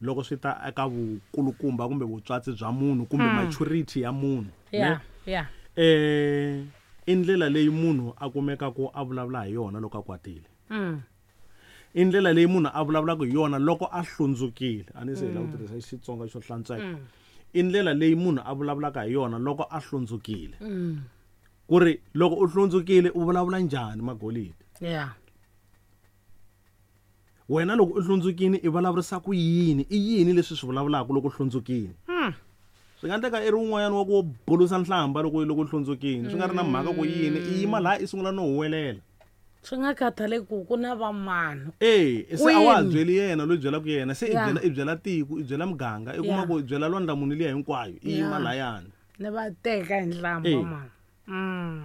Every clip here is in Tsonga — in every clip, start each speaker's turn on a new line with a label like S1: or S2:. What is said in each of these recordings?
S1: Loko swi ta eka vukulukumba kumbe vutswatsi bya munhu kumbe maturity ya munhu, ne?
S2: Ya, ya.
S1: I ndlela leyi munhu a kumekaka a vulavula hi yona loko a kwatile. I ndlela leyi munhu a vulavulaka hi yona loko a hlundzukile. A ni se hi lava ku tirhisa Xitsonga xo hlantsweka. I ndlela leyi munhu a vulavulaka hi yona loko a hlundzukile. Ku ri loko u hlundzukile u vulavula njhani, Magolidi? Wena loko u hlundzukile i vulavurisa ku yini? I yini leswi swi vulavulaka loko u hlundzukile? Swi nga endleka i ri un'wanyana wa ku bulusa nhlamba loko u hlundzukile, swi nga ri na mhaka ku yini, i yima laha i sungula no huwelela.
S2: Swi nga khathaleki ku ku na vamani.
S1: Se a wa ha
S2: Kwini?
S1: byeli yena loyi byelaka yena, se i byela tiko, i byela muganga, i kuma ku i byela lwandla munhu liya hinkwayo, i yima layani.
S2: Ni va teka hi nhlamba, mani.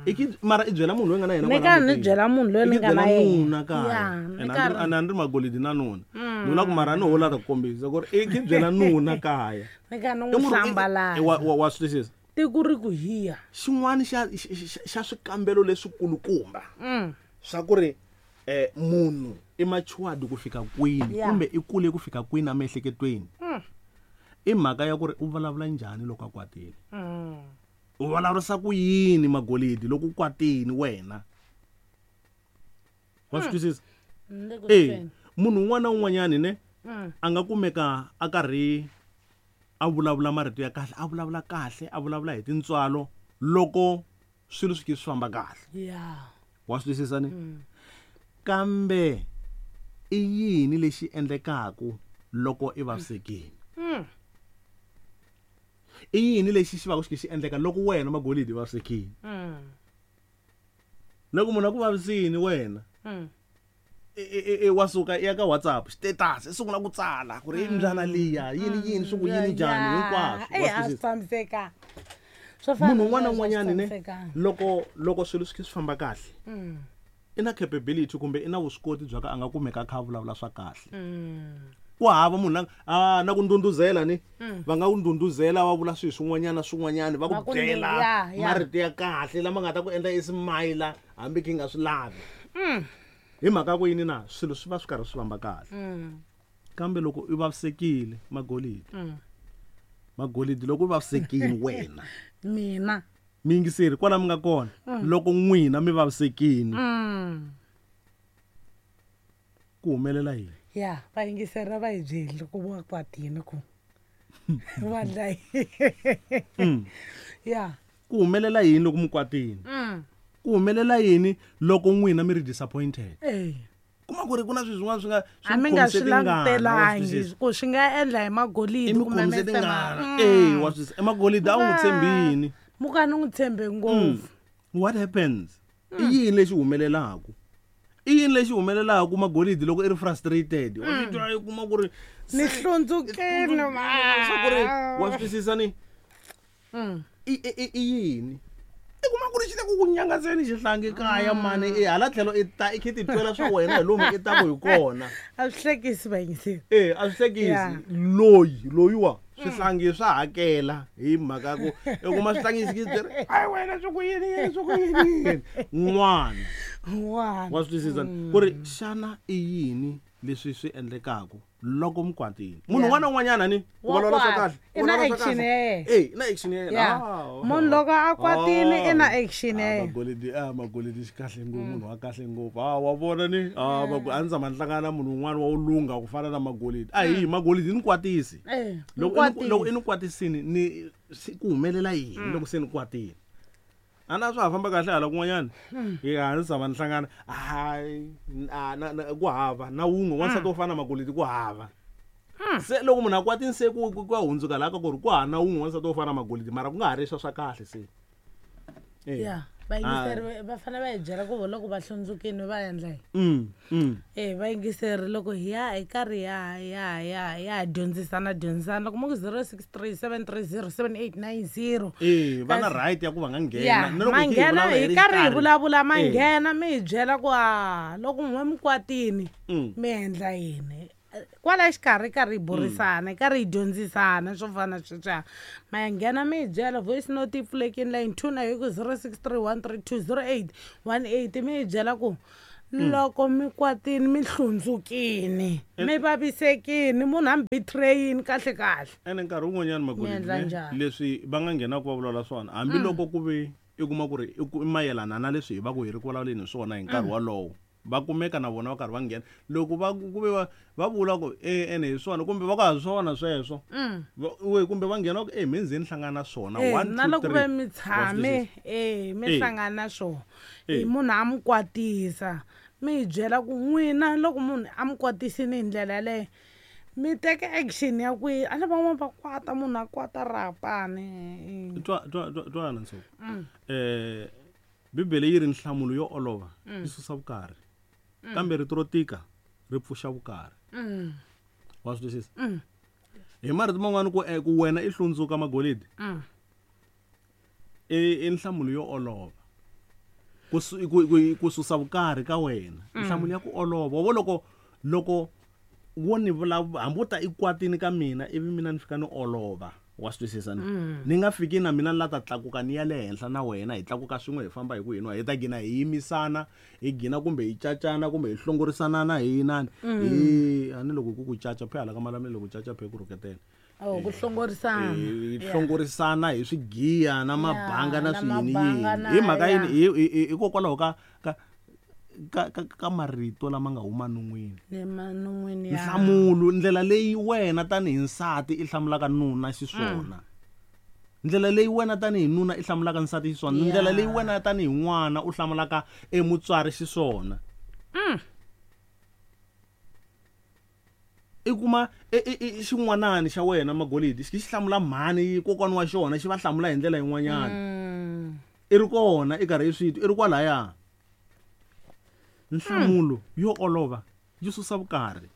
S1: I ki, mara i byela munhu loyi nga na yena
S2: Ni
S1: kwala
S2: ka ni
S1: mutini.
S2: byela munhu loyi
S1: I
S2: ni
S1: ki
S2: nga na
S1: byela
S2: yena.
S1: nuna kaya.
S2: Ya, ni
S1: And
S2: ka ri-
S1: a ni ri Magolidi na nuna. Ni vula ku mara a ni ho lava ku kombisa ku ri i ki byela nuna kaya.
S2: Ni ka ni
S1: I
S2: n'wi
S1: munhu- i-
S2: hlambalaza.
S1: i- wa swi twisisa?
S2: Tiko ri ku hiya.
S1: Xin'wana xa swikambelo leswikulukumba swa ku ri munhu i matured ku fika kwini kumbe i kule ku fika kwini emiehleketweni. I mhaka ya ku ri u vulavula njhani loko a kwatile. U vulavurisa ku yini, Magolidi, loko u kwatile wena? Wa swi twisisa?
S2: Ni le ku tweni.
S1: Munhu un'wana na un'wanyani ne a nga kumeka a karhi a vulavula marito ya kahle, a vulavula kahle, a vulavula hi tintswalo loko swilo swi swi famba kahle. Wa swi twisisa ne? Kambe i yini lexi endlekaku loko i vavisekile? I yini lexi xi va ku xi xi endleka loko wena Magolidi vavisekile? Loko munhu a ku vavisini wena, i wa suka i ya ka WhatsApp status i sungula ku tsala ku ri i mbyana liya yini yini swi ku yini njhani hinkwaswo.
S2: Wa
S1: Wa
S2: a swi
S1: twisisa?
S2: tshamisekanga. Swo fana
S1: Munhu
S2: na
S1: un'wana na
S2: sweswo a swi
S1: un'wanyani ne,
S2: tshamisekanga.
S1: loko swilo swi swi famba kahle, i na capability kumbe i na vuswikoti bya ka a nga kumeka a kha a vulavula swa kahle. Ku hava munhu la, na ku ndhundhuzela ni, va nga ku ndhundhuzela va vula swilo swin'wanyana swin'wanyana, va ku
S2: Va ku
S1: byela
S2: ya, ya.
S1: marito ya kahle lama nga ta ku endla i smile hambi ki nga swi lavi. Hi mhaka ku yini na swilo swi va swi karhi swi famba kahle. Kambe loko u vavisekile, Magolidi. Magolidi loko u vavisekile wena.
S2: Mina.
S1: Miyingiseri kwala mi nga kona, loko n'wina mi vavisekile. Ku humelela yini?
S2: Ya, vayingiseri va hi byeli ku va kwatini ku. Va dla yini? Ya.
S1: Ku humelela yini loko mi kwatini? Ku humelela yini loko n'wina mi ri disappointed? Kuma ku ri ku na swilo swin'wana swi nga swi
S2: A
S1: mi
S2: mi nga
S1: khomise
S2: swi
S1: tingana, wa swi
S2: langutelangi
S1: twisisa?
S2: ku swi nga endla hi Magolidi
S1: I mi
S2: kumbe
S1: khomise
S2: Mister Ma-
S1: tingana. Wa swi twisisa? I Magolidi a wu n'wi tshembini.
S2: Muka ni n'wi tshembe ngopfu.
S1: What happens? I yini lexi humelelaka? I yini lexi humelelaka Magolidi loko i ri frustrated? Wa swi twa i kuma ku ri
S2: Ni hlundzukile,
S1: hlundzukile, swa ku ri wa swi twisisa ni? I yini? I kuma ku ri xi le ku ku nyangatseni xihlangi kaya, mani, i hala tlhelo i ta i khe titwela swa wena hi lomu i ta ku hi kona.
S2: A swi hlekisi vayingiseri.
S1: A swi hlekisi. Loyi, loyiwa, swihlangi swa hakela hi mhaka ku i kuma swihlangi xi byi ri, ai wena swi ku yini, yini, swi ku yini, yini. N'wana.
S2: N'wana.
S1: Wa swi twisisa? Ku ri xana i yini leswi swi endlekaka loko mi kwatile? Munhu un'wana na un'wanyana ni, ku
S2: Wa
S1: vulavula swa
S2: kwata.
S1: kahle.
S2: I na
S1: Ku vulavula swa
S2: action
S1: kahle.
S2: ya yena.
S1: I na action ya yena.
S2: Munhu loko a kwatile, i na action ya yena.
S1: Magolidi, Magolidi xi kahle ngopfu, munhu wa kahle ngopfu. Wa vona ni? A ndzi tshama ni hlangana na munhu un'wana wa wulunga ku fana na Magolidi. A hi, Magolidi ni kwatisi. Loko
S2: Ni
S1: i ni kwatisini, ni ku humelela yini loko se ni kwatile? A na swa ha famba kahle hala kun'wanyana. Hi a ndzi tshama ni hlangana. Hayi, a, na, na, ku hava na wun'we wansati wo fana na Magolidi ku hava. Se loko munhu a kwatini se ku ya hundzuka laha ka ku ri ku hava na wun'we wansati wo fana na Magolidi, mara ku nga ha ri swa kahle se.
S2: Ya, vayingiseri va fanele va hi byela ku loko va hlundzukile va endla yini. Vayingiseri loko hi ya hi karhi ya dyondzisana dyondzisana loko mo ku zero six three seven three zero seven eight nine zero.
S1: Va na
S2: Kasi
S1: right ya ku va nga nghena.
S2: Ya,
S1: Na loko hi khe hi
S2: manghena,
S1: vulavula hi
S2: hi
S1: ri
S2: karhi hi
S1: xikarhi.
S2: vulavula, manghena mi hi byela ku, loko n'we mi kwatini, mi endla yini? Kwala xikarhi karhi hi burisana, karhi hi dyondzisana swo fana na sweswiya. Ma nghena mi hi byela voice note yi pfulekile line 2 na hi ku zero six three one three two zero eight one eight, mi hi byela ku Loko mi kwatini, mi hlundzukini, mi vavisekini, munhu a mi betrayini kahle kahle.
S1: Ene nkarhi wun'wanyana
S2: Mi
S1: Magolidi,
S2: endla
S1: ne,
S2: njhani?
S1: Leswi va nga nghenaka va vulavula swona, hambiloko ku ve i kuma ku ri i mayelana na leswi hi va ku hi ri ku vulavuleni hi swona hi nkarhi wolowo, va kumeka na vona va karhi va nghena. Loko va ku ve va vula ku e ene hi swona, kumbe va ku ha swona sweswo. We, kumbe va nghena ku e me ndzeni hlangana na swona. 1,
S2: Na
S1: 2,
S2: loko
S1: 3.
S2: ve mi
S1: Wa swi
S2: tshame,
S1: twisisa?
S2: mi hlangana na swona. Munhu a mi kwatisa, mi hi byela ku n'wina loko munhu a mi kwatisini hi ndlela yaleyo, mi teka action ya kwihi? A ni van'wani va kwata, munhu a kwata rapani.
S1: Twana Ntsoko. Bibele yi ri nhlamulo yo olova yi susa vukarhi. Kambe rito ro tika ri pfuxa vukarhi. Wa swi twisisa? Hi marito man'wani ku wena i hlundzuka Magolidi. I nhlamulo yo olova. Ku susa vukarhi ka wena. Nhlamulo ya ku olova. Wa vo loko wo ni vulavula, hambi u ta i kwatini ka mina, ivi mina ni fika ni olova. Wa swi twisisa ni? Ni nga fiki na mina ni la ta tlakuka ni ya le henhla na wena, hi tlakuka swin'we hi famba hi ku hina, hi ta gina hi yimisana, hi gina kumbe hi cacana kumbe hi hlongorisana na hi inani. Hi, a ni loko ku ku caca, phe hala ka Malamulele loko caca phe ku rhuketela.
S2: Oh, ku hlongorisana.
S1: Hi hlongorisana hi swigiya na mabanga na
S2: Na
S1: swiyini
S2: mabanga
S1: yini.
S2: na
S1: Hi mhaka yini? Hikokwalaho ka marito lama nga huma non'wini.
S2: Ni ma non'wini ya.
S1: Nhlamulo, ndlela leyi wena tanihi nsati i hlamulaka nuna xiswona. Ndlela leyi wena tanihi nuna i hlamulaka nsati xiswona. Ndlela leyi wena tanihi n'wana u hlamulaka emutswari xiswona. I kuma i xin'wanani xa wena Magolidi, xi hlamula mhani kokwana wa xona, xi va hlamula hi ndlela yin'wanyana. I ri kona i karhi i swi twa, i ri kwalaya. Nhlamulo yo olova yi susa vukarhi,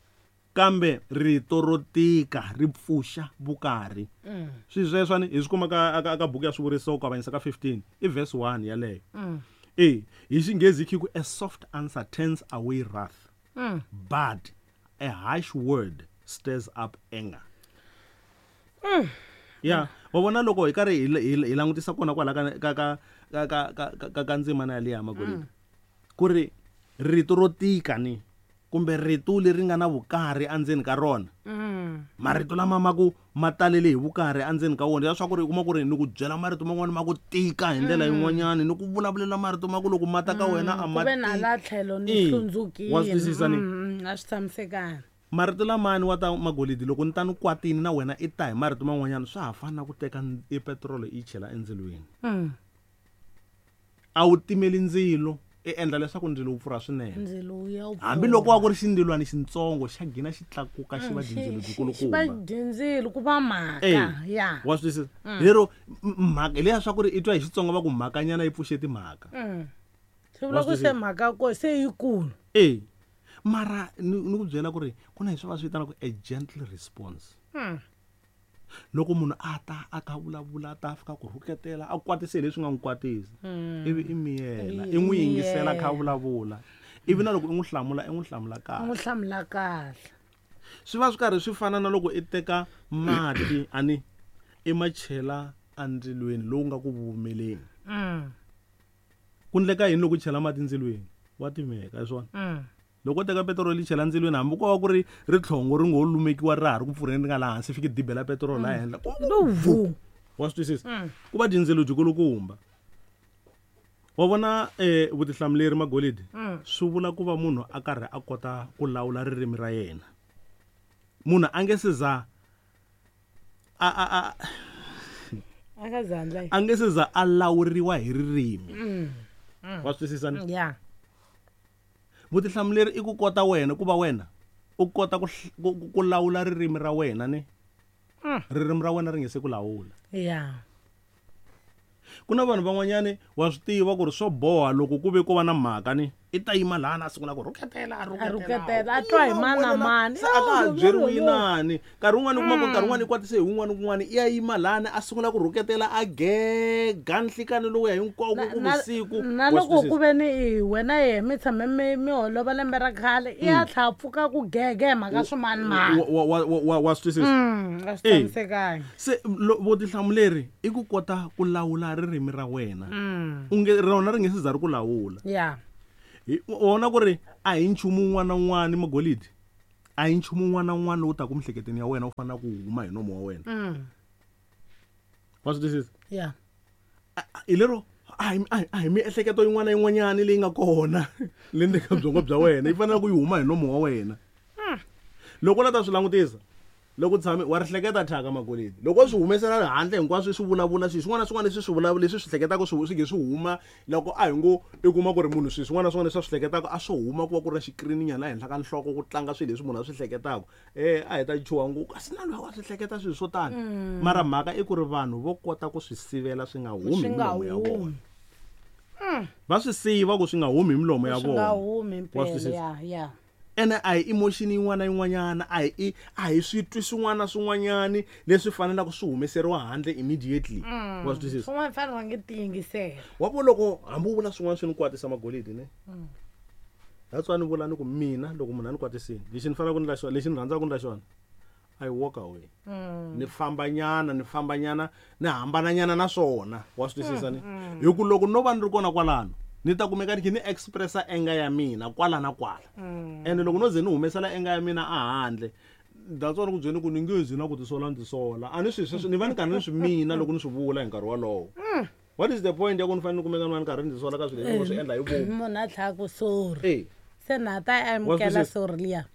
S1: kambe rito ro tika ri pfuxa vukarhi. Swi sweswo ni hi swi kuma ka buku ya Swivuriso ku avanyisa ka 15, i verse 1 yaleyo. Hi Xinghezi yi ku a soft answer turns away wrath, but a harsh word stirs up anger. Ya, wa vona loko hi karhi hi langutisa kona kwala ka ndzimana yaliya Magolidi. Ku ri rito ro tika ni kumbe rito leri nga na vukarhi endzeni ka rona. Marito lama ma ku ma talele hi vukarhi endzeni ka wona, leswaku ri u kuma ku ri ni ku byela marito man'wana ma ku tika hi ndlela yin'wanyana, ni ku vulavulela marito ma ku loko ma ta ka wena a ma
S2: Ku ve na
S1: tiki.
S2: la tlhelo ni hlundzukile.
S1: Wa swi twisisa ni?
S2: A swi tshamisekanga.
S1: Marito lamani wa ta Magolidi, loko ni ta ni kwatini na wena i ta hi marito man'wanyana, swa ha fana na ku teka e petiroli i yi chela endzilweni. A wu timeli ndzilo, i endla leswaku ndzilo wu pfurha swinene.
S2: Ndzilo wu ya wu
S1: Hambi loko wa ku ri xindzilwana xintsongo, xa gina xi tlakuka xi va dyindzilo byikulukumba.
S2: Xi va dyindzilo, ku va mhaka, ya.
S1: Wa swi twisisa? Lero, mhaka, hi leya swa ku ri i twa hi Xitsonga va ku mhakanyana yi pfuxe timhaka.
S2: Swi vula
S1: Wa
S2: ku
S1: swi
S2: se
S1: twisisa?
S2: mhaka ko se yikulu.
S1: Mara ni ku byela ku ri ku na leswi va swi vitanaka a gentle response. Loko munhu a ta a ka vulavula, a ta a fika ku rhuketela, a kwatise hi leswi nga n'wi kwatisa. Ivi i miyela,
S2: Ivi
S1: i n'wi
S2: i
S1: yingisela kha
S2: miyela.
S1: vulavula. Ivi na loko i n'wi hlamula, i n'wi hlamula kahle.
S2: I n'wi hlamula kahle.
S1: Swi va swi karhi swi fana na loko i teka mati ani i ma chela endzilweni lowu nga ku vumeleni. Ku endleka yini loko u chela mati endzilweni? Wa timeka, hi swona. Loko u teka petiroli yi chela ndzilweni, hambi ko va ku ri ritlhongo ri ngo lumekiwa ra ha ri ku pfurheni ri nga laha hansi, fiki dibela petiroli laha henhla. Ku
S2: Lo vhu.
S1: Wa swi twisisa? Ku va dyindzilo byikulukumba. Wa vona vutihlamuleri Magolidi, swi vula ku va munhu a karhi a kota ku lawula ririmi ra yena. Munhu a nge se za a, a, a,
S2: A nga za ndla yini?
S1: a nge se za a lawuriwa hi ririmi. Wa swi twisisa ni?
S2: Ya.
S1: Vutihlamuleri i ku kota wena ku va wena u kota ku lawula ririmi ra wena ni. Ririmi ra wena ri nge se ku lawula.
S2: Ya.
S1: Ku na vanhu van'wanyani wa swi tiva ku ri swo boha loko ku ve ko va na mhaka ni, i ta yima laha na sungula ku rhuketela, a
S2: A
S1: rhuketela.
S2: rhuketela, a twa hi mani na mani.
S1: Se a ka ha
S2: Yo, yo,
S1: byeriwi
S2: yo, yo.
S1: inani. Nkarhi wun'wani u kuma ku nkarhi wun'wani i kwatise hi wun'wani kun'wani, i ya yima lahani a sungula ku rhuketela, a gega nhlikani lowuya hinkwawo ku vusiku.
S2: Na
S1: Wa swi
S2: loko
S1: twisisa?
S2: ku ve ni i wena yehe mi tshame mi holova lembe ra khale, i ya tlha pfuka ku gege hi mhaka swimani mani.
S1: Wa swi twisisa?
S2: A swi tshamisekanga.
S1: Se vutihlamuleri i ku kota ku lawula ririmi ra wena. U nge rona ri nge se za ri ku lawula. Wona ku ri a hi nchumu wun'wana na wun'wana magolidi, a hi nchumu wun'wana na wun'wana lowu taka miehleketweni ya wena u fanele ku huma hi nomo wa wena. Wa swi twisisa?
S2: Yeah.
S1: Hi lero a hi miehleketo yin'wana na yin'wanyana leyi nga kona le ndzeni ka byongo bya wena yi fanele ku yi huma hi nomo wa wena. Loko u la ta swi langutisa, loko tshame wa ri hleketa thyaka magolidi, loko swi humesela handle hinkwaswo swi vulavula swilo swin'wana na swin'wana leswi swi vulavula leswi swi hleketaka swi nge swi huma. Loko a hi ngo i kuma ku ri munhu swilo swin'wana na swin'wana leswi a swi hleketaka a swo huma, ku va ku ri na xikirini nyana laha henhla ka nhloko ku tlanga swilo leswi munhu a swi hleketaka, a hi ta chuha ngopfu, kasi na loyi wa swi hleketa swilo swo tani. Mara mhaka i ku ri vanhu vo kota ku swi sivela swi nga humi hi milomo ya vona. Va swi siva ku swi nga humi hi milomo ya vona.
S2: Swi nga humi impela, ya.
S1: Ene a hi emotion yin'wana na yin'wanyana, a hi switwi swin'wana na swin'wanyani leswi fanelaka swi humeseriwa handle immediately. Wa swi twisisa?
S2: Swin'wana fanele va nge tiyingisela.
S1: Wa vo loko hambi u vula swin'wana swi ni kwatisa magolidi ne? That's why ni vula ni ku mina loko munhu a ni kwatisile, lexi ni fanelaka ku ndla xona, lexi ni rhandzaka ku ndla xona, I walk away. Ni fambanyana, ni fambanyana, ni hambananyana na swona. Wa swi twisisa ni? Hi ku loko no va ni ri kona kwalano, ni ta kumeka ni kha ni expressa anger ya mina kwala na kwala. Ene loko no ze ni humesela anger ya mina a handle, that's why ni ku byeni ku ni nge zi na ku tisola ni tisola. A ni swi sweswo, ni va ni karhi ni swi mina loko ni swi vula hi nkarhi wolowo. What is the point ya ku ni fanele ni kumeka ni va ni karhi ni tisola ka swilo leswi ni swi endla hi vomu?
S2: Munhu a tlhela ku sorry. Se na ta amukela sorry liya.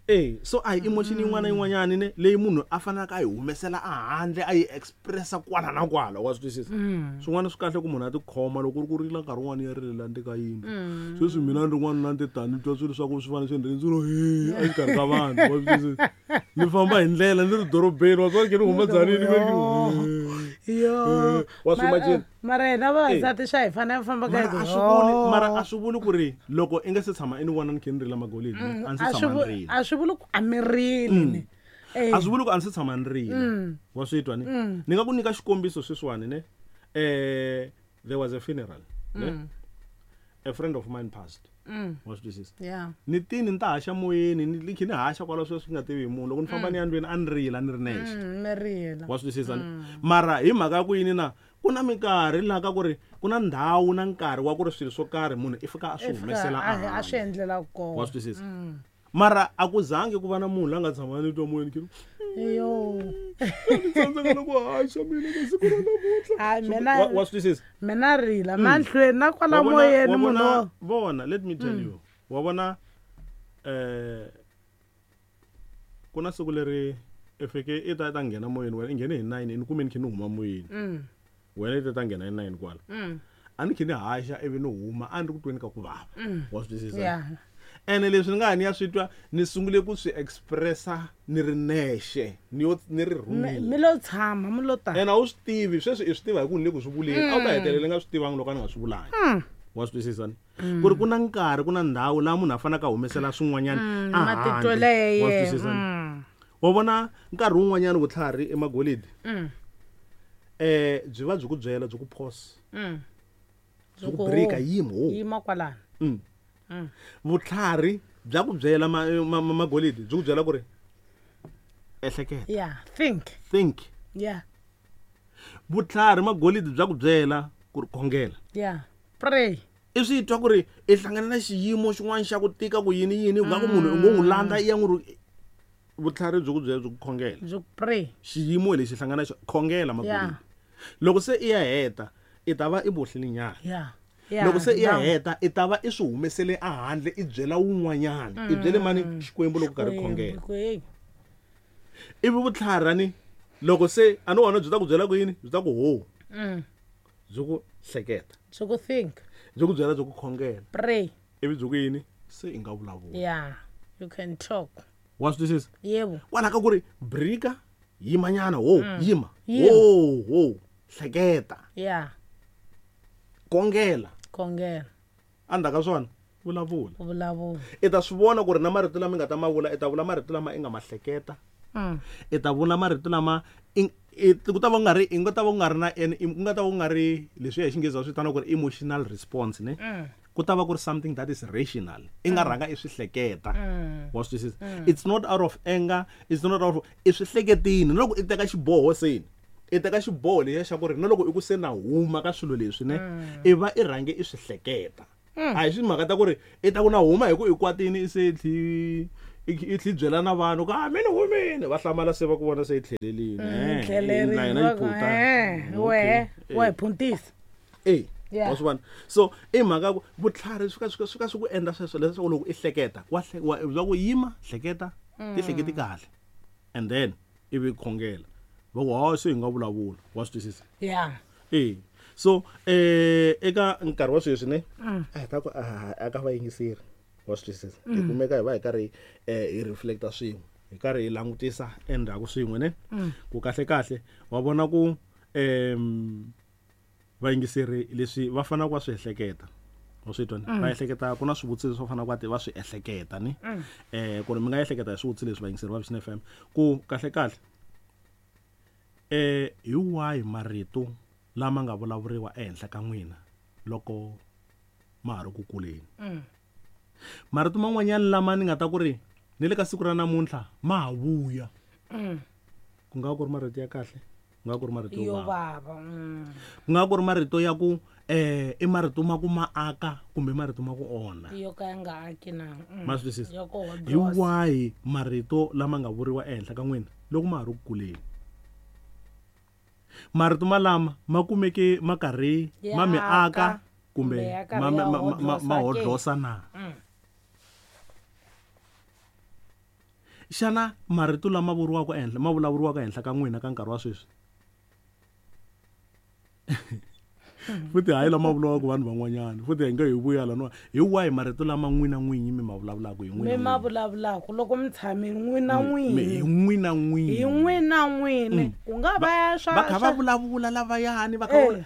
S1: So a hi emotion yin'wana na yin'wanyana ne leyi munhu a fanelaka a yi humesela a handle, a yi expressa kwala na kwala, wa swi twisisa? Swin'wana swi kahle ku munhu a tikhoma loko ku ri ku rila nkarhi wun'wana ya rilela ndzeni ka yindlu. Sweswi mina ni ri n'wanuna ni ti tani, ni twa swilo swa ku swi fanele swi ndzi ro he exikarhi ka vanhu, wa swi twisisa? Ni famba hi ndlela ni ri dorobeni, wa swi vona ni huma Tzaneen, ni ve ni
S2: Yo.
S1: Wa swi imagine?
S2: Mara hina vavasati swa hi fanele famba ka
S1: Mara a swi vuli, mara a swi vuli ku ri loko i nga se tshama i ni vona ni kha ni rila magolidi, a ndzi se tshama ni rila.
S2: A swi vuli ku a mi rili ni.
S1: A swi vuli ku a ndzi se tshama ni rila. Wa swi twa ni? Ni nga ku nyika xikombiso sweswiwani ne? There was a funeral, ne? A friend of mine passed. Wa swi twisisa? Ni tini ni ta haxa moyeni, ni kha ni haxa kwala sweswi nga tivi hi munhu. Loko ni famba ni ya ndlwini a ni rila ni ri nexe.
S2: Ni rila.
S1: Wa swi twisisa ni? Mara hi mhaka ya ku yini na ku na minkarhi laha ka ku ri ku na ndhawu na nkarhi wa ku ri swilo swo karhi munhu i fika a swi humesela
S2: a swi endlela kona.
S1: Wa swi twisisa? Mara a ku zangi ku va na munhu la nga tshama ni twa moyeni ki
S2: Yo.
S1: Ni tsandzeka na ku haxa mina ka siku ra namuntlha.
S2: Hayi, mina
S1: Wa swi twisisa?
S2: Mina rila mahlweni na kwala moyeni munhu.
S1: Vona, let me tell you. Wa vona, ku na siku leri i fike i ta nghena moyeni wena, i nghene hi 9, ni kume ni kha ni huma moyeni. Wena i ta nghena hi 9 kwala. A ni kha ni haxa ivi ni huma, a ni ri ku tweni ka ku vava. Wa swi twisisa? Ene leswi ni nga ha ni ya swi twa, ni sungule ku swi expressa ni ri nexe, ni yo, ni ri rhumile.
S2: Mi lo tshama, mi lo ta.
S1: Ene a wu swi tivi, sweswi i swi tiva hi ku ni le ku swi vuleni. A wu ta hetelela i nga swi tivangi loko a ni nga swi vulangi. Wa swi twisisa ni? Ku ri ku na nkarhi, ku na ndhawu laha munhu a faneleke a humesela swin'wanyana a handle.
S2: Matitwelo ya
S1: Wa swi
S2: yena.
S1: twisisa ni? Wa vona nkarhi wun'wanyana vutlhari emagolidi. Byi va byi ku byela, byi ku pause. Byi ku break-a, yima, ho.
S2: Yima kwalano.
S1: Vutlhari bya ku byela magolidi, byi ku byela ku ri ehleketa.
S2: Yeah, think.
S1: Think.
S2: Yeah.
S1: Vutlhari magolidi bya ku byela ku ri khongela.
S2: Yeah, pray.
S1: I swi twa ku ri i hlangana na xiyimo xin'wana xa ku tika ku yini yini, ku nga ku munhu u ngo n'wi landza i ya n'wi ri vutlhari byi ku byela byi ku khongela.
S2: Byi ku pray.
S1: Xiyimo lexi hlangana xo khongela magolidi.
S2: Yeah.
S1: Loko se i ya heta, i ta va i bohlile nyana.
S2: Yeah. Yeah,
S1: Loko se i ya
S2: no.
S1: heta, i ta va i swi humesele a handle, i byela wun'wanyana. I byele mani Xikwembu loko karhi khongela.
S2: Xikwembu.
S1: Ivi vutlhari ni loko se a ni wona byi ta ku byela ku yini? Byi ta ku ho. Byi ku hleketa.
S2: Byi ku think.
S1: Byi ku byela byi ku khongela.
S2: Pray.
S1: Ivi byi ku yini? Se i nga vulavula.
S2: Yeah, you can talk.
S1: Wa swi twisisa?
S2: Yebo.
S1: Kwalaho ka ku ri brika, yimanyana, ho, yima.
S2: Yima.
S1: Ho, ho, hleketa.
S2: Yeah.
S1: Khongela.
S2: Khongela.
S1: Endzhaku ka swona, vulavula.
S2: Vulavula.
S1: I ta swi vona ku ri na marito lama i nga ta ma vula, i ta vula marito lama i nga ma hleketa. I ta vula marito lama i, i, ku ta va ku nga ri, i nga ta va ku nga ri na, en, i, ku nga ta va ku nga ri leswi hi Xinghezi va swi vitanaka ku ri emotional response, ne? Ku ta va ku ri something that is rational. I nga rhanga i swi hleketa. Wa swi twisisa? It's not out of anger, it's not out of, i swi hleketini. Na loko i teka xiboho seni, i teka xiboho lexiya xa ku ri na loko i ku se na huma ka swilo leswi, ne? I va i rhange i swi hleketa. A hi swi mhaka ta ku ri i ta ku na huma hi ku i kwatini i se tlhi i tlhi byela na vanhu ku a mi ni humini, va hlamala se va ku vona se i tlhelelini.
S2: Tlhelerini
S1: Na hina yi phuta.
S2: Wehe wa hi phuntisa.
S1: Wa swi vona? So i mhaka ku vutlhari swi ka swi ku endla sweswo leswaku loko i hleketa wa wa ku yima hleketa ti hleketi kahle and then ivi khongela va ku ha se hi nga vulavula, wa swi twisisa? So eka nkarhi wa sweswi ne a hi ta ku a ka vayingiseri, wa swi twisisa? Hi kumeka hi va hi karhi hi reflecta swin'we, hi karhi hi langutisa endzhaku swin'we ne ku kahle kahle wa vona ku vayingiseri leswi va fanelaka va swi ehleketa, wa swi twa? Va ehleketa ku na swivutiso leswi va fanelaka va swi ehleketa ni ku ri mi nga ehleketa hi swivutiso leswi vayingiseri va Vision FM ku kahle kahle hi wahi marito lama nga vulavuriwa ehenhla ka n'wina loko ma ha ri ku kuleni. Marito man'wanyana lama ni nga ta ku ri ni le ka siku ra namuntlha ma ha vuya. Ku nga ku ri marito ya kahle, ku nga ku ri marito yo
S2: vava.
S1: Ku nga ku ri marito ya ku i marito ma ku ma aka kumbe marito ma ku onha.
S2: Yo ka ya nga aki na.
S1: Ma swi twisisa? Hi wahi marito lama nga vuriwa ehenhla ka n'wina loko ma ha ri ku kuleni? Marito malama ma kumeke ma karhi ma mi aka kumbe ma hodlosa na? Xana marito lama vuriwaka ehenhla ma vulavuriwaka ehenhla ka n'wina ka nkarhi wa sweswi? Futhi hayi lama vuriwaka vanhu van'wanyana, futhi hi nge hi vuya laniwa. Hi wahi marito lama n'wina n'winyi mi ma vulavulaka hi n'wina?
S2: Mi ma vulavulaka loko mi tshamile n'wina n'winyi.
S1: Hi n'wina n'winyi.
S2: Hi n'wina n'winyi. Ku nga va swa
S1: va kha va vulavula lavayani va kha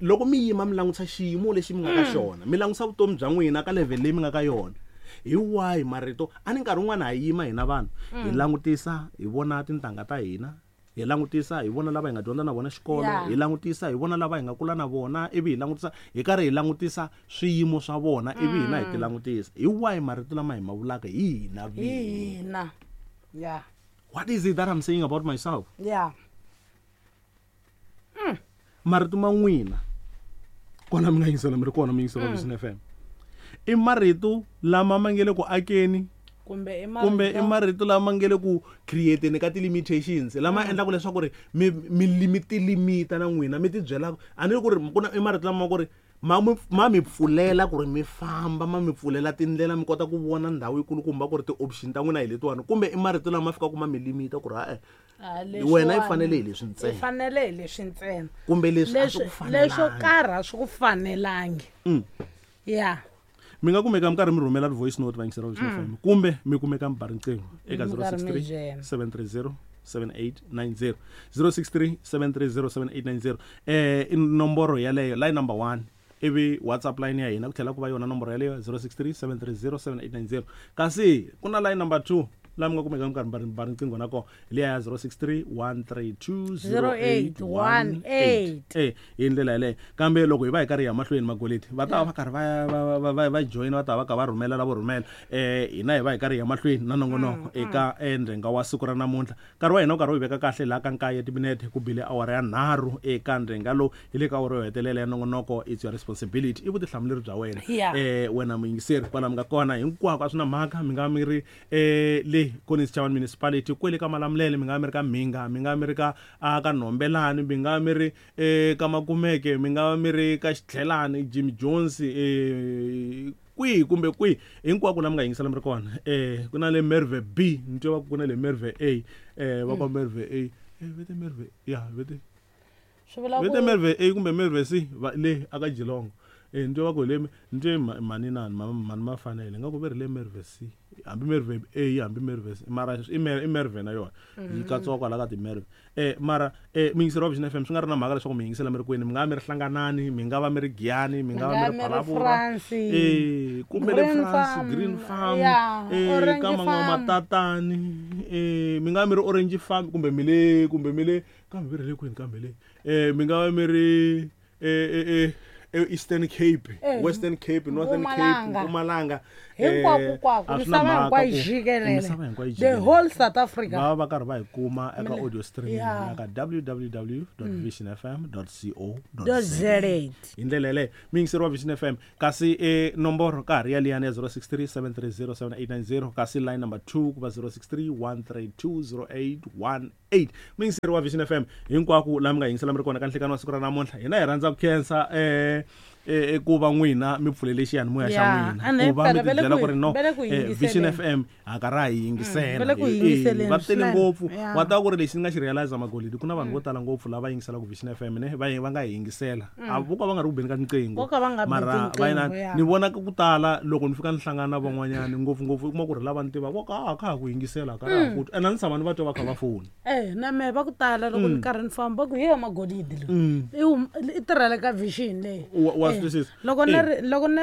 S1: loko mi yima mi langutisa xiyimo lexi mi nga ka xona, mi langutisa vutomi bya n'wina ka level leyi mi nga ka yona. Hi wahi marito? A ni nkarhi wun'wana ha yima hina vanhu hi langutisa hi vona tintangha ta hina, hi langutisa hi vona lava hi nga dyondza na vona xikolo, hi langutisa hi vona lava hi nga kula na vona, ivi hi langutisa hi karhi hi langutisa swiyimo swa vona, ivi hina hi ti langutisa. Hi wahi marito lama hi ma vulaka hi hina
S2: vinyi? Hina. Yeah.
S1: What is it that I'm saying about myself? Marito ma n'wina kona mi nga yingisela mi ri kona mi yingisela Vision FM. I marito lama ma nge le ku akeni
S2: kumbe
S1: i marito lama nge le ku createni ka ti-limitations lama endlaka leswaku ri mi limita na n'wina mi tibyela a ni ku ri ku na i marito lama ku ri ma mi pfulela ku ri mi famba, ma mi pfulela tindlela mi kota ku vona ndhawu yikulukumba ku ri ti-option ta n'wina hi letiwani, kumbe i marito lama fikaka ma mi limita ku ri ha-e wena i fanele hi leswi ntsena,
S2: i fanele hi leswi ntsena,
S1: kumbe leswi a swi ku fanelangi,
S2: leswo karhi a swi ku fanelangi.
S1: Mi nga kumeka mi karhi mi rhumela voice note vayingiseri va Vision FM kumbe mi kumeka mi ba riqingho eka 063 730 7890 063 730 7890 i nomboro yaleyo line number 1, ivi WhatsApp line ya hina ku tlhela ku va yona nomboro yaleyo 063 730 7890. Kasi ku na line number 2 laha mi nga kumeka mi karhi mi ba riqingho na kona liya ya 063 132 0818. Hi ndlela yaleyo. Kambe loko hi va hi karhi hi ya mahlweni magoleti va ta va karhi va join, va ta va kha va rhumela lavo rhumela. Hina hi va hi karhi hi ya mahlweni na nongonoko eka ndhenga wa siku ra namuntlha. Nkarhi wa hina wu karhi wu hi veka kahle laha ka 9 timinete ku bile awara ya 3 eka ndhenga lowu hi le ka awara yo hetelela ya nongonoko. It's your responsibility, i vutihlamuleri bya wena wena muyingiseri kwala mi nga kona hinkwako a swi na mhaka mi nga mi ri le Collins Chabane Municipality, kwele ka Malamulele, mi nga mi ri ka Mhinga, mi nga mi ri ka ka Nhombelani, mi nga mi ri ka Makumeke, mi nga mi ri ka Xitlhelani, Jimmy Jones, kwihi kumbe kwihi hinkwako la mi nga yingisela mi ri kona. Ku na le Merwe B, ni twa va ku na le Merwe A, va ka Merwe A, vete Merwe, ya vete vete Merwe A kumbe Merwe C va le aka Geelong. Ni twa va ku le ni twe mhani nani mhani ma fanele nga ku ve ri le Merwe C, hambi Merwe A hambi Merwe C, mara i Merwe na yona yi katsiwa kwala ka ti-Merwe. Mara muyingiseri wa Vision FM swi nga ri na mhaka leswaku mi yingisela mi ri kwini, mi nga va mi ri Hlanganani, mi nga va mi ri Giyani, mi nga va mi ri Phalaborwa, kumbe le France, Green Farm, ka Man'wamatatani, mi nga va mi ri Orange Farm, kumbe mi le, kumbe mi le kambe mi ri le kwini kambe le, mi nga va mi ri Eastern Cape, Western Cape, Northern Cape, Mpumalanga,
S2: hinkwako, misava hinkwayo jikelele, the whole South Africa,
S1: va va karhi va hi kuma eka audio streaming ya ka www.visionfm.co.za. Hi ndlela yaleyo muyingiseri wa Vision FM, kasi nomboro ka ha ri yaliyani ya 063 730 7890, kasi line number 2 ku va 063 132 0818. Muyingiseri wa Vision FM hinkwako laha mi nga yingisela mi ri kona ka nhlekani wa siku ra namuntlha, hina hi rhandza ku khensa ku va n'wina mi pfulele xiyanimoya xa n'wina, ku va mi tibyela ku ri no Vision FM ha ka ra hi yingisela, va tele ngopfu. Wa tiva ku ri lexi ni nga xi realize Magolidi, ku na vanhu vo tala ngopfu lava yingiselaka Vision FM ne va nga hi yingisela, a vo ka va nga ri ku beni ka tinqingho, mara va yina ni vona ku tala loko ni fika ni hlangana na van'wanyana ngopfungopfu u kuma ku ri lava ni tivaka vo ka ka ha ku yingisela ka ra ku ene a ni tshama ni va twa va kha va fona.
S2: Na mehe va ku tala loko ni karhi ni famba va ku ye Magolidi loyi i tirhela ka Vision leyi.
S1: Wa swi twisisa?
S2: Loko ni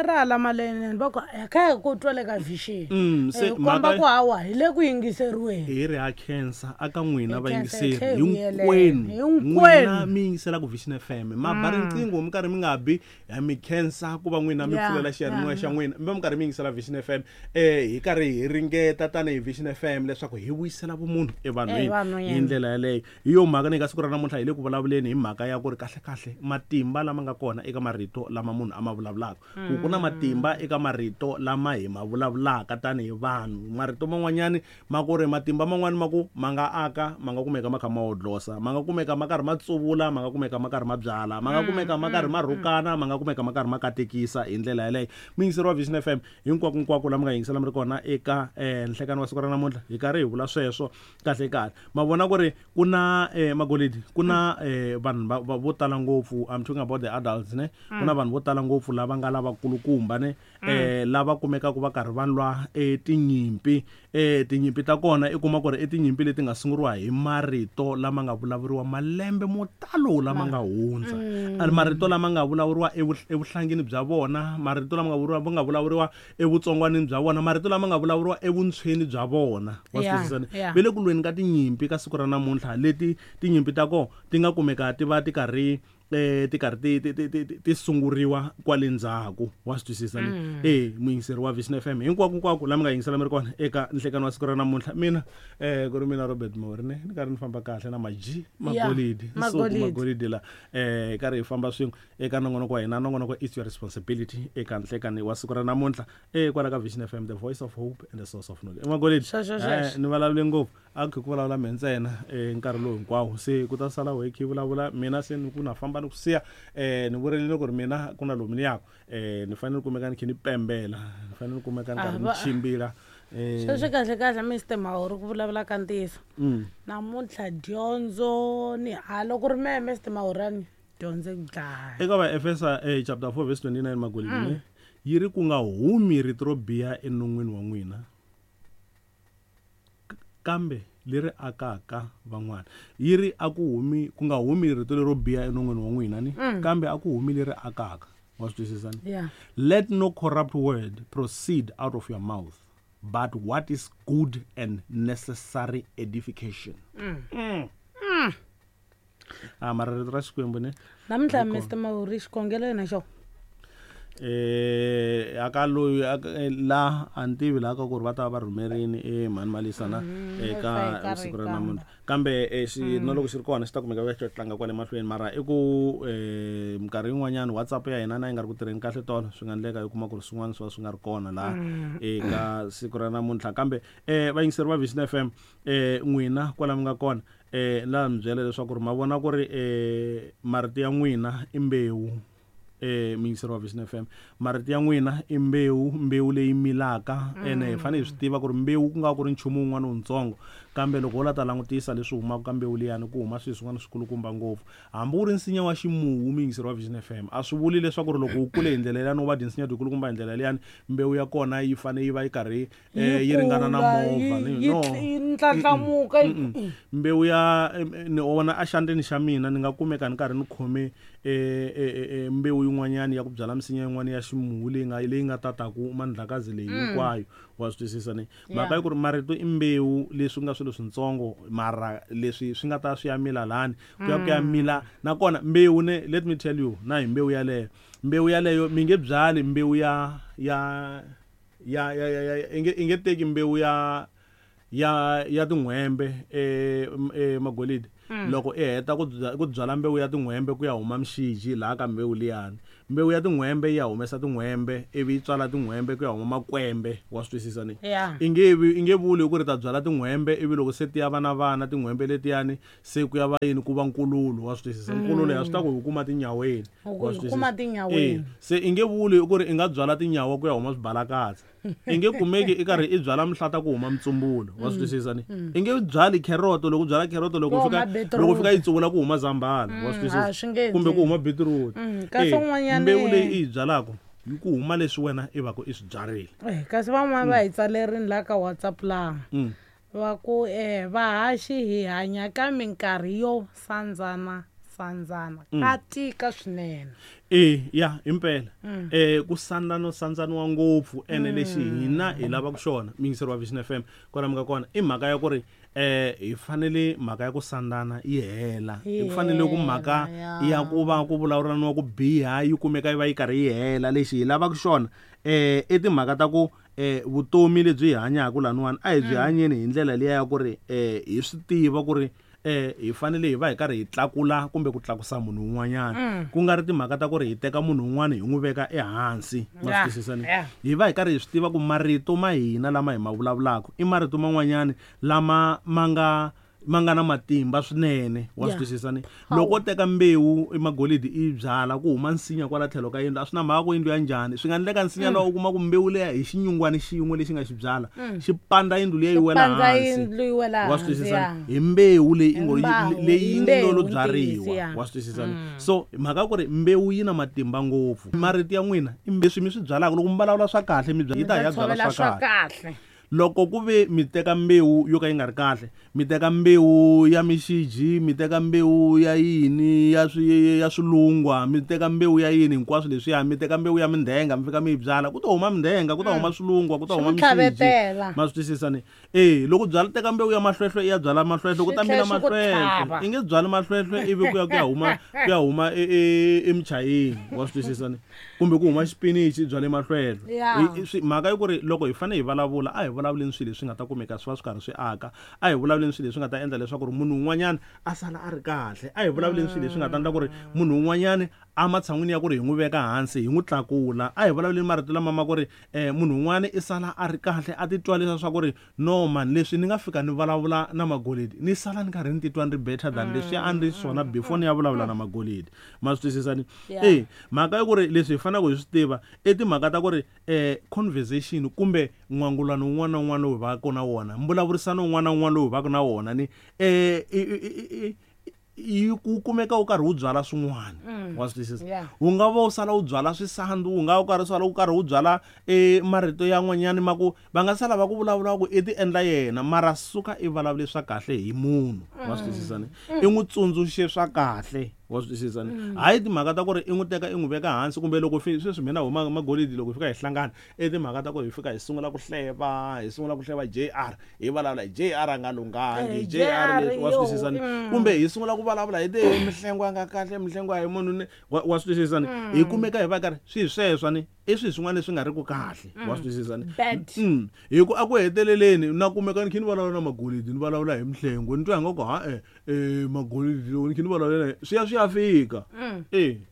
S2: ri hala maleni va ku kha hi ku twa le ka Vision,
S1: se
S2: komba ku hawa hi le ku yingiseriweni.
S1: Hi ri ha khensa aka n'wina vayingiseri hinkwenu, n'wina mi yingiselaka Vision FM, ma ba riqingho mi karhi mi nga bi, ha mi khensa ku va n'wina mi pfulela xiyanimoya xa n'wina, mi va mi karhi mi yingisela Vision FM. Hi karhi hi ringeta tanihi Vision FM leswaku hi vuyisela vumunhu evanhwini hi ndlela yaleyo. Hi yo mhaka ni ka siku ra namuntlha hi le ku vulavuleni hi mhaka ya ku ri kahlekahle matimba lama nga kona eka marito lama munhu a ma vulavulaka, ku ku na matimba eka marito lama hi ma vulavulaka tanihi vanhu. Marito man'wanyani ma ku ri matimba man'wani ma ku ma nga aka, ma nga kumeka ma kha ma hodlosa, ma nga kumeka ma karhi ma tsuvula, ma nga kumeka ma karhi ma byala, ma nga kumeka ma karhi ma rhukana, ma nga kumeka ma karhi ma katekisa. Hi ndlela yaleyo muyingiseri wa Vision FM hinkwako nkwako lama nga yingisela mi ri kona eka nhlekani wa siku ra namuntlha, hi karhi hi vula sweswo kahle kahle. Ma vona ku ri ku na Magolidi, ku na vanhu vo tala ngopfu, I'm talking about the adults ne, ku na vanhu vo tala ngopfu lava nga lavakulukumba ne, lava kumekaka va karhi va lwa tinyimpi. Tinyimpi ta kona i kuma ku ri i tinyimpi leti nga sunguriwa hi marito lama nga vulavuriwa malembe mo talo lama nga hundza, marito lama nga vulavuriwa evuhlangini bya vona, marito lama nga vulavuriwa evutsongwanini bya vona, marito lama nga vulavuriwa evuntshweni bya vona. Wa swi twisisa ne? Ve le ku lweni ka tinyimpi ka siku ra namuntlha, leti tinyimpi ta kona ti nga kumeka ti va ti karhi ti karhi ti sunguriwa kwale ndzhaku. Wa swi twisisa ne? Muyingiseri wa Vision FM hinkwako nkwako laha mi nga yingisela mi ri kona eka nhlekani wa siku ra namuntlha, mina ku ri mina Robert Mori ne, ni karhi ni famba kahle na Maji Magolidi, Nsuku Magolidi la, karhi hi famba swin'we eka nongonoko wa hina, nongonoko It's Your Responsibility eka nhlekani wa siku ra namuntlha kwala ka Vision FM, the voice of hope and the source of knowledge. Magolidi, ni vulavule ngopfu, a ku vulavula mina ntsena nkarhi lowu hinkwawo, se ku ta sala wehe khe vulavula mina, se ni ku na famba ni ku siya. Ni vurile ku ri mina ku na lomu ni yaka, ni fanele kumeka ni khe ni pembela, ni fanele kumeka ni karhi ni chimbila.
S2: Sweswi kahle kahle Mr Mahori ku vulavula ka ntiyiso, namuntlha dyondzo ni ha loko ri mehe Mr Mahorani dyondzo ku dlaya.
S1: Eka Vaefesa chapter 4 verse 29 Magolidi, yi ri ku nga humi rito ro biha enon'wini wa n'wina, kambe leri akaka van'wana. Yi ri a ku humi, ku nga humi rito lero biha enon'wini wa n'wina ni, kambe a ku humi leri akaka. Wa swi twisisa ni? Let no corrupt word proceed out of your mouth, but what is good and necessary edification. Mara rito ra Xikwembu ne?
S2: Namuntlha Mr Mahori xikhongelo yena xo.
S1: Aka loyi la a ni tivi laha ka ku ri va ta va rhumerini mhani Malisa na eka siku ra namuntlha, kambe na loko xi ri kona xi ta kumeka va xi tlanga kwale mahlweni. Mara i ku minkarhi yin'wanyana WhatsApp ya hina na yi nga ri ku tirheni kahle tolo, swi nga endleka i kuma ku ri swin'wana swi va swi nga ri kona laha eka siku ra namuntlha. Kambe vayingiseri va Vision FM, n'wina kwala mi nga kona, la mi byela leswaku ri ma vona ku ri marito ya n'wina i mbewu. Muyingiseri wa Vision FM, marito ya n'wina i mbewu, mbewu leyi milaka. Ene hi fanele hi swi tiva ku ri mbewu ku nga ku ri nchumu wun'wana wutsongo, kambe loko wo la ta langutisa leswi humaka ka mbewu liyani, ku huma swilo swin'wana swikulukumba ngopfu. Hambi wu ri nsinya wa ximuwu, muyingiseri wa Vision FM, a swi vuli leswaku ri loko wu kule hi ndlela liyani, wu va dye nsinya dyikulukumba hi ndlela liyani, mbewu ya kona yi fanele yi va yi karhi yi ringana na movha. No,
S2: ndlandlamuka.
S1: Mbewu ya ni vona exandleni xa mina ni nga kumeka ni karhi ni khome mbewu yin'wanyana ya ku byala misinya yin'wana ya ximuwu leyi nga tataku mandlakazi leyi hinkwayo. Wa swi twisisa ni? Mhaka yi ku ri marito i mbewu, leswi nga swilo swintsongo, mara leswi swi nga ta swi ya mila lani, ku ya ku ya mila. Nakona mbewu ne, let me tell you, na hi mbewu yaleyo, mbewu yaleyo mi nge byali mbewu ya ya ya ya ya ya i nge teki mbewu ya ya ya tin'hwembe magolidi. Loko i heta ku byala mbewu ya tin'hwembe ku ya huma mixiji laha ka mbewu liyani, mbewu ya tin'hwembe yi ya humesa tin'hwembe, ivi yi tswala tin'hwembe ku ya huma makwembe. Wa swi twisisa ni? I nge vuli ku ri ta byala tin'hwembe, ivi loko se ti ya va na vana tin'hwembe letiyani, se ku ya va yini, ku va nkululo. Wa swi twisisa? Nkululo ya swi ta ku hi kuma tinyaweni. Wa swi twisisa? Se i nge vuli ku ri i nga byala tinyawa ku ya huma swibalakatsa. I nge kumeki i karhi i byala mihlata ku huma mitsumbulo. Wa swi twisisa ni? I nge byali kheroto, loko u byala kheroto, loko fika yi tsuvula ku huma zambhala. Wa swi twisisa? Kumbe ku huma beetroot. Mbewu leyi i yi byalaka yi ku huma leswi wena i va ku i swi byarile.
S2: Kasi van'wana va hi tsalerini laha ka WhatsApp laha va ku vahaxi hi hanya ka minkarhi yo sandzana sandzana, ka tika swinene.
S1: Ya impela ku sandzana sandzaniwa ngopfu, ene lexi hina hi lavaka xona muyingiseri wa Vision FM kwala mi nga kona, i mhaka ya ku ri hi fanele mhaka ya ku sandzana yi hela. Hi fanele ku mhaka ya ku va ku vulavulaniwa ku biha yi kumeka yi va yi karhi yi hela. Lexi hi lavaka xona i timhaka ta ku vutomi lebyi hi hanyaka laniwani a hi byi hanyeni hi ndlela liya ya ku ri hi swi tiva ku ri hi fanele hi va hi karhi hi tlakula kumbe ku tlakusa munhu un'wanyana, ku nga ri timhaka ta ku ri hi teka munhu un'wana hi n'wi veka ehansi. Ma swi twisisa ni? Hi va hi karhi hi swi tiva ku marito ma hina lama hi ma vulavulaka i marito man'wanyana lama ma nga na matimba swinene. Wa swi twisisa ni? Loko u teka mbewu emagolidi i byala ku huma nsinya kwala tlhelo ka yindlu, a swi na mhaka ku yindlu ya njhani, swi nga endleka nsinya lowu u kuma ku mbewu leya hi xinyungwana xin'we lexi nga xi byala xi pandza yindlu liya yi wela hansi. Wa swi twisisa ni? Hi mbewu leyi leyi nga lo byariwa. Wa swi twisisa ni? So mhaka ku ri mbewu yi na matimba ngopfu. Marito ya n'wina i leswi mi swi byalaka, loko mi vulavula swa kahle mi yi ta ya byala swa kahle. Loko ku ve mi teka mbewu yo ka yi nga ri kahle, mi teka mbewu ya mixiji, mi teka mbewu ya yini ya swilungwa, mi teka mbewu ya yini hinkwaswo leswiya, mi teka mbewu ya mindhenga mi fika mi yi byala, ku ta huma mindhenga, ku ta huma swilungwa, ku ta huma mixiji. Ma swi twisisa ni? Loko byala teka mbewu ya mahlwehlwe i ya byala mahlwehlwe, ku ta mila mahlwehlwe. I nge byali mahlwehlwe ivi ku ya huma emichayini. Wa swi twisisa ni? Kumbe ku huma xipinichi byale mahlwelo. Mhaka yi ku ri loko hi fanele hi vulavula, a hi vulavuleni swilo leswi nga ta kumeka swi va swi karhi swi aka, a hi vulavuleni swilo leswi nga ta endla leswaku ri munhu un'wanyana a sala a ri kahle, a hi vulavuleni swilo leswi nga ta endla ku ri munhu un'wanyana ematshan'wini ya ku ri hi n'wi veka hansi hi n'wi tlakula. A hi vulavuleni marito lama ma ku ri munhu un'wana i sala a ri kahle, a titwa leswaku ku ri no man, leswi ni nga fika ni vulavula na magolidi ni sala ni karhi ni titwa ni ri better than leswi a ni ri swona before ni ya vulavula na magolidi. Ma swi twisisa ni? Mhaka ya ku ri leswi hi faneleke hi swi tiva i timhaka ta ku ri conversation kumbe n'wangulano wun'wana na wun'wana lowu hi vaka na wona, mbulavurisano wun'wana na wun'wana lowu hi vaka na wona ni yi ku kumeka u karhi u byala swin'wana. Wa swi twisisa? Wu nga va u sala u byala swisandzu, wu nga va u karhi sala u karhi u byala marito yan'wanyana ma ku va nga sala va ku vulavula ku i ti endla yena, mara suka i vulavule swa kahle hi munhu. Wa swi twisisa ni? I n'wi tsundzuxe swa kahle. Wa swi twisisa ni? Hayi timhaka ta ku ri i n'wi teka i n'wi veka hansi, kumbe loko sweswi mina huma magolidi loko hi fika hi hlangana, i timhaka ta ku hi fika hi sungula ku hleva, hi sungula ku hleva JR, hi vulavula hi JR a nga lunghangi, JR leswi. Wa swi twisisa ni? Kumbe hi sungula ku vulavula hi mihlengo ya nga kahle, mihlengo ya hi munhu ni. Wa swi twisisa ni? Hi kumeka hi va karhi swi sweswo ni i swilo swin'wana leswi nga ri ku kahle. Wa swi twisisa ni? Hi ku a ku heteleleni na kumeka ni kha ni vulavula na magolidi, ni vulavula hi mihlengo, ni twa ingaku ha magolidi loko ni kha ni vulavula swi ya swi ya fika.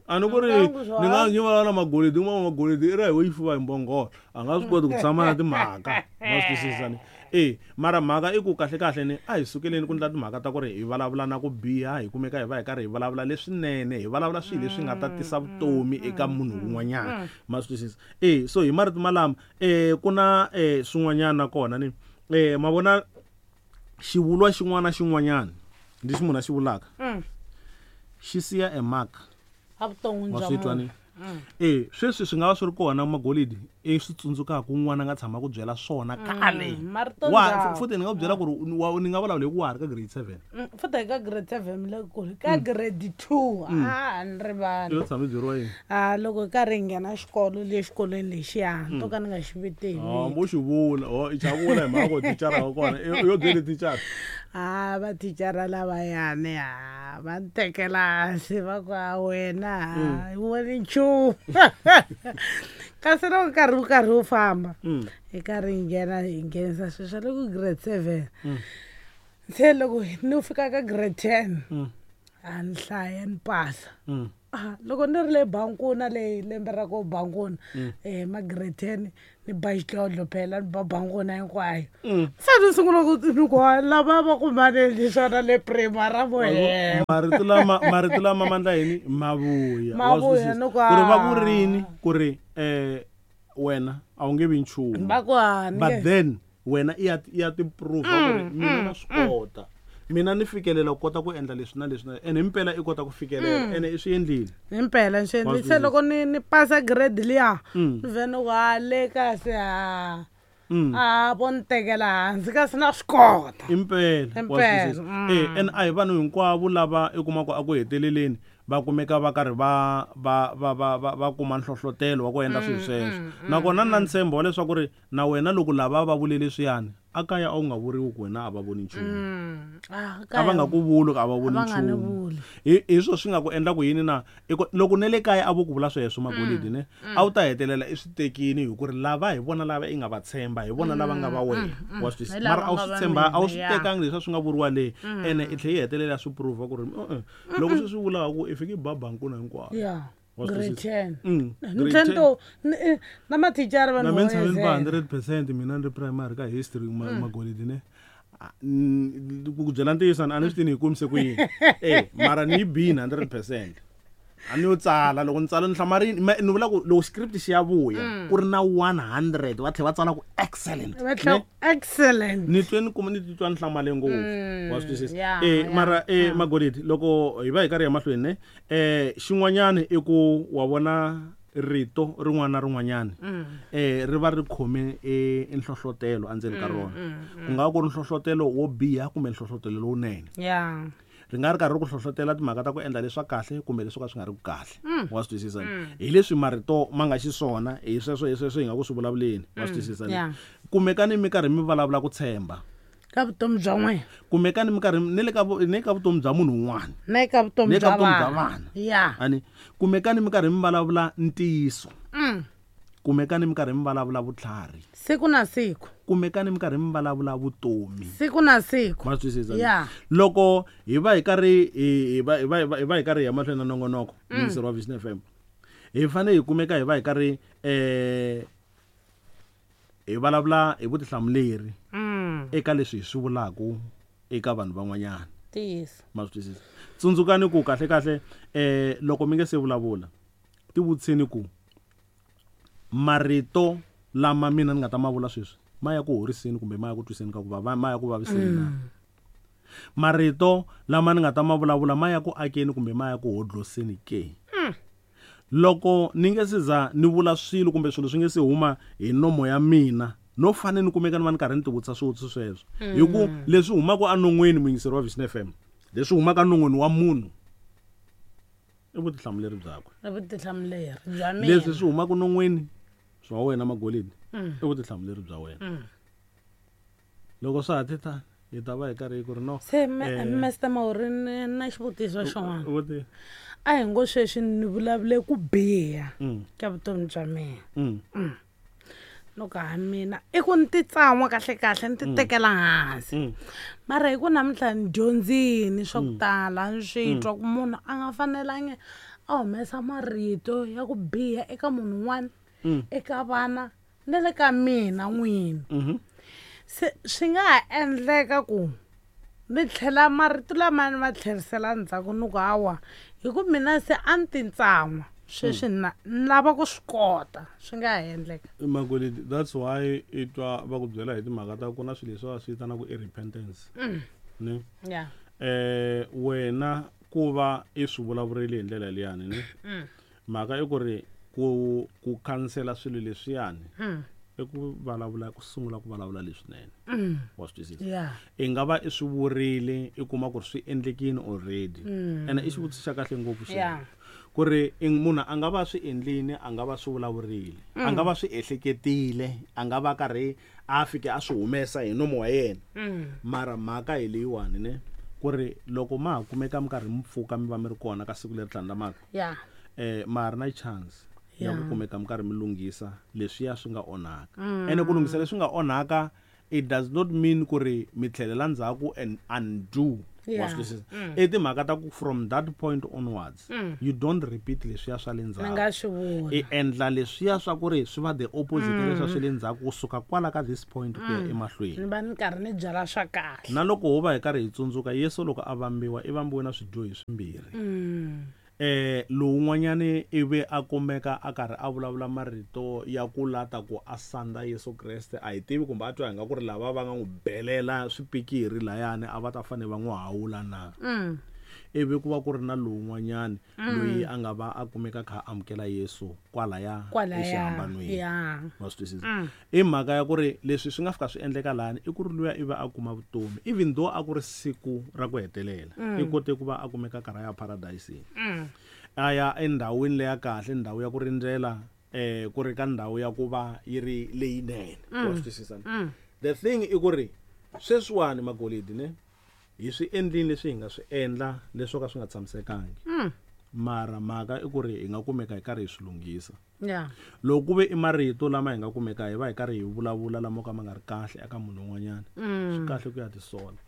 S1: A ni ku ri ni nga ni vulavula na magolidi, un'wana magolidi i ra hi wo yi fuva hi mbhongolo, a nga swi koti ku tshama na timhaka. Ma swi twisisa ni? Mara mhaka i ku kahle kahle ni a hi sukeleni ku ndla timhaka ta ku ri hi vulavula na ku biha, hi kumeka hi va hi karhi hi vulavula leswinene, hi vulavula swilo leswi nga ta tisa vutomi eka munhu un'wanyana. Ma swi twisisa? So hi marito malama ku na swin'wanyana nakona ni ma vona xivulwa xin'wana na xin'wanyana lexi munhu a xi vulaka xi siya a mark
S2: evuton'wini bya munhu.
S1: E sweswi swi nga va swi ri kona magolidi i swi tsundzukaka un'wana a nga tshama ku byela swona kale.
S2: Marito Wa
S1: futhi ni nga ku byela ku ri ni nga vulavula hi ku wa ha ri ka grade 7.
S2: Futhi hi ka grade 7 le kule ka grade 2 a ni rivali.
S1: Yo tshama byeriwa yini?
S2: A loko hi karhi hi nghena xikolo le xikolweni lexiya to ka ni nga xi viti hi
S1: Oh, mo xi vula. Oh, i xa vula hi mhaka ku thicara wa kona. Yo byele thicara.
S2: A vathicara lavayani a va ni tekela hansi va ku a wena a yi voni nchumu, kasi loko nkarhi wu karhi wu famba hi karhi hi nghena hi nghenisa swilo swa le ku grade 7, se loko ni fika ka grade 10 a ni hlaya ni pasa. Ah, loko ni ri le bankuna leyi lembe ra ku bankuna ma grade 10 ni ba xidlodlo phela ni ba bankuna hinkwayo, se ni sungula ku ni ku lava va ku manendli swona le primary vo
S1: hemba. Marito lama mandla yini mavuya.
S2: Wa swi Mavuya,
S1: twisisa? Ni ku, Ku ri va ku rini ku ri wena a wu nge vi nchumu.
S2: Va ku a
S1: ni But then wena i ya ti prove ku ri mina na swi kota, mina ni fikelela ku kota ku endla leswi na leswi na, ene himpela i kota ku fikelela ene i swi endlile.
S2: Himpela ni swi endlile. Se loko ni pasa grade liya, ni vhe ni ku a le kasi a a vo ni tekela hansi kasi na swi kota.
S1: Impela wa
S2: Impela,
S1: swi twisisa. Ene a hi vanhu hinkwavo lava i kumaka a ku heteleleni va kumeka va karhi va kuma nhlohlotelo wa ku endla swilo sweswo. Nakona ni na ntshembo wa leswaku ri na wena loko lava va vule leswiyani a kaya, a wu nga vuriwi ku wena a va voni nchumu.
S2: Ah,
S1: A va nga ku vuli ku a va voni
S2: A va nga ni
S1: nchumu.
S2: Vuli.
S1: Hi swo swi nga ku endla ku yini na loko ne le kaya a vo ku vula sweswo magolidi ne a wu ta hetelela i swi tekini hi ku ri lava hi vona lava i nga va tshemba, hi vona lava nga va wena, wa swi twisisa?
S2: Hi lava
S1: Mara a wu
S2: nga
S1: swi
S2: va
S1: tshemba a wu
S2: mina,
S1: swi
S2: ya.
S1: tekangi leswi a swi nga vuriwa le, ene i tlhe yi hetelela swi prove ku ri loko swi swi vulaka ku i fike i ba bankuna hinkwayo.
S2: Ya.
S1: Wa swi
S2: Grade
S1: twisisa?
S2: 10. Ni
S1: Grade
S2: tlhela
S1: 10.
S2: to na mathicara
S1: Na
S2: vanhu
S1: mina tshame ni ba 100% mina ni ri primary ka history magolidi ne. Ku byela ntiyiso a ni swi tivi ni yi kumise ku yini mara ni yi bini 100%, a ni yo tsala loko ni tsala ni hlamarini ni vula ku loko script xi ya vuya ku ri na 100 va tlhela va tsala ku excellent.
S2: Va tlhela
S1: Ne?
S2: Excellent.
S1: Ni twe ni kuma ni titwa ni hlamale ngopfu, wa swi twisisa?
S2: Ya, ya,
S1: Mara magolidi loko hi va hi karhi ya mahlweni ne xin'wanyana i ku wa vona rito rin'wana na rin'wanyana ri va ri khome nhlohlotelo endzeni ka rona, ku nga va ku ri nhlohlotelo wo biha kumbe nhlohlotelo lowunene. Ri nga ri karhi ri ku hlohlotela timhaka ta ku endla leswa kahle kumbe leswo ka swi nga ri ku kahle, wa swi twisisa? Hi leswi marito ma nga xiswona, hi sweswo hi nga ku swi vulavuleni, wa swi twisisa? Kumekani mi karhi mi vulavula ku tshemba
S2: ka vutomi bya n'wina.
S1: Kumekani mi karhi ni le ka ni ka vutomi bya munhu un'wana.
S2: Na eka vutomi
S1: Ni ka
S2: bya
S1: vutomi bya
S2: vana.
S1: Vana.
S2: Ya.
S1: Ani kumekani mi karhi mi vulavula ntiyiso, kumekani mi karhi mi vulavula vutlhari.
S2: Siku na siku.
S1: Kumekani mi karhi mi vulavula vutomi.
S2: Siku na siku.
S1: Ma swi twisisa?
S2: Ya.
S1: Loko hi va hi karhi hi va hi karhi hi ya mahlweni na nongonoko, muyingiseri wa Vision FM, hi fanele hi kumeka hi va hi karhi hi vulavula hi vutihlamuleri eka leswi hi swi vulaka eka vanhu van'wanyana.
S2: Ntiyiso.
S1: Ma swi twisisa? Tsundzukani ku kahle kahle loko mi nge se vulavula, tivutiseni ku marito lama mina ni nga ta ma vula sweswi ma ya ku horiseni kumbe ma ya ku twiseni ka ku vava, ma ya ku vaviseni na? Marito lama ni nga ta ma vulavula ma ya ku akeni kumbe ma ya ku hodloseni ke? Loko ni nge se za ni vula swilo kumbe swilo swi nge se huma hi nomo ya mina, no fanele ni kumeka ni va ni karhi ni tivutisa swivutiso sweswo, hi ku leswi humaka enon'weni, muyingiseri wa Vision FM, leswi humaka enon'weni wa munhu i vutihlamuleri byakwe.
S2: I vutihlamuleri bya mina.
S1: Leswi swi humaka non'weni swa wena magolidi i vutihlamuleri bya wena. Loko swa ha ti tani hi ta va hi karhi hi ku ri no.
S2: Se Master Mauri, ni na xivutiso xin'wana.
S1: Vuti.
S2: A hi ngo sweswi ni vulavule ku biha ka vutomi bya mina, loko ha mina i ku ni titsan'wa kahle kahle ni ti tekela hansi, mara hi ku namuntlha ni dyondzini swa ku tala, ni swi twa ku munhu a nga fanelangi a humesa marito ya ku biha eka munhu un'wana, eka vana na le ka mina n'wini, se swi nga ha endleka ku ni tlhela marito lama ni ma tlherisela ndzhaku, ni ku hawa hi ku mina se a ni titsan'wa, sweswi na ni lava ku swi kota, swi nga ha endleka?
S1: Magolidi, that's why i twa va ku byela hi timhaka ta ku na swilo leswi va swi vitanaka i repentance ne.
S2: Ya.
S1: Wena ku va i swi vulavurile hi ndlela liyani ne. Mhaka i ku ri ku khansela swilo leswiyani i ku vulavula, ku sungula ku vulavula leswinene. Wa swi twisisa? I nga va i swi vurile, i kuma ku ri swi endlekile already. Ene i xivutiso xa kahle ngopfu xexo. Ku ri munhu a nga va swi endlile, a nga va swi vulavurile, a nga va swi ehleketile, a nga va karhi a fike a swi humesa hi nomo wa yena. Mara mhaka hi leyiwani ne, ku ri loko ma ha kumeka mi karhi mi pfuka mi va mi ri kona ka siku leri tlhandlamaka, ma ha ri na chance ya ku kumeka mi karhi mi lunghisa leswiya swi nga onhaka. Ene ku lunghisa leswi nga onhaka, it does not mean ku ri mi tlhelela ndzhaku and undo. Wa swi twisisa? I timhaka ta ku from that point onwards, you don't repeat leswiya swa le ndzhaku.
S2: Ni nga swi vula.
S1: I endla leswiya swa ku ri swi va the opposite leswiya swa le ndzhaku kusuka kwala ka this point ku ya emahlweni.
S2: Ni va ni karhi ni byala swa kahle.
S1: Na loko ho va hi karhi hi tsundzuka, Yesu loko a vambiwa, i vambiwe na swidyohi swimbirhi. Lowun'wanyani ivi a kumeka a karhi a vulavula marito ya ku lata ku a sandza Yesu Kreste, a hi tivi kumbe a twa hi nga ku ri lava va nga n'wi belela swipikiri layani a va ta fanele va n'wi hawula na. Ivi ku va ku ri na lowun'wanyani loyi a nga va a kumeka kha a amukela Yesu kwalaya exihambanweni. Wa swi twisisa? I mhaka ya ku ri leswi swi nga fika swi endleka lani i ku ri luya ivi a kuma vutomi, even though a ku ri siku ra ku hetelela, i kote ku va a kumeka karhi a ya paradise-ini. A ya endhawini leya kahle, ndhawu ya ku rindzela, ku ri ka ndhawu ya ku va yi ri leyinene. Wa swi twisisa? The thing i ku ri sweswiwani magolidi ne, hi swi endlile leswi hi nga swi endla leswo ka swi nga tshamisekangi. Mara mhaka i ku ri hi nga kumeka hi karhi hi swi lunghisa. Loko ku ve i marito lama hi nga kumeka hi va hi karhi hi vulavula lama ka ma nga ri kahle eka munhu un'wanyana, swi kahle ku ya tisola.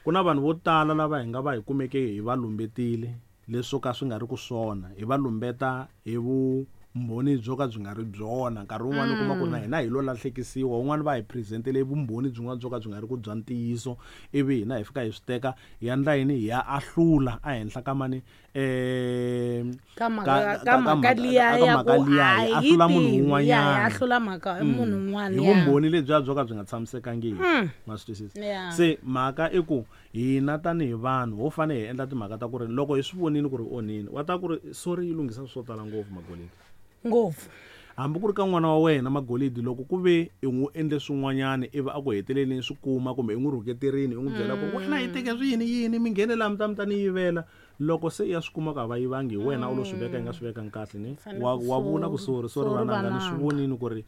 S1: Ku na vanhu vo tala lava hi nga va hi kumeke hi va lumbetile leswo ka swi nga ri ku swona, hi va lumbeta hi vumbhoni byo ka byi nga ri byona. Nkarhi wun'wani u kuma ku ri na hina hi lo lahlekisiwa, wun'wani va hi presentele vumbhoni byin'wana byo ka byi nga ri ku bya ntiyiso, ivi hina hi fika hi swi teka hi endla yini, hi ya ahlula ehenhla ka mani,
S2: Ka mhaka, ka mhaka liya ya ku a hi
S1: ahlula munhu
S2: tivi,
S1: un'wanyana.
S2: ya, hi ahlula mhaka munhu un'wana,
S1: Hi
S2: ya.
S1: vumbhoni lebyiya byo ka byi nga tshamisekangiki. Ma swi twisisa? Se mhaka i ku hina tanihi vanhu ho fanele hi endla timhaka ta ku ri loko hi swi vonile ku ri onhini, wa ta ku ri sorry yi lunghisa swo tala ngopfu magolidi.
S2: Ngopfu.
S1: Hambi ku ri ka n'wana wa wena magolidi, loko ku ve i n'wi endle swin'wanyana ivi a ku heteleleni swi kuma, kumbe i n'wi rhuketerini i n'wi byela ku wena yi teke swi yini yini, mi nghene laha mi ta mi ta ni yivela. Loko se i ya swi kuma ku a va yivangi, hi wena u lo swi veka i nga swi vekangi kahle ni,
S2: Fanele ku
S1: wa vula ku sorry, sorry
S2: sorry
S1: vananga, ni swi
S2: vananga.
S1: vonile ku ri,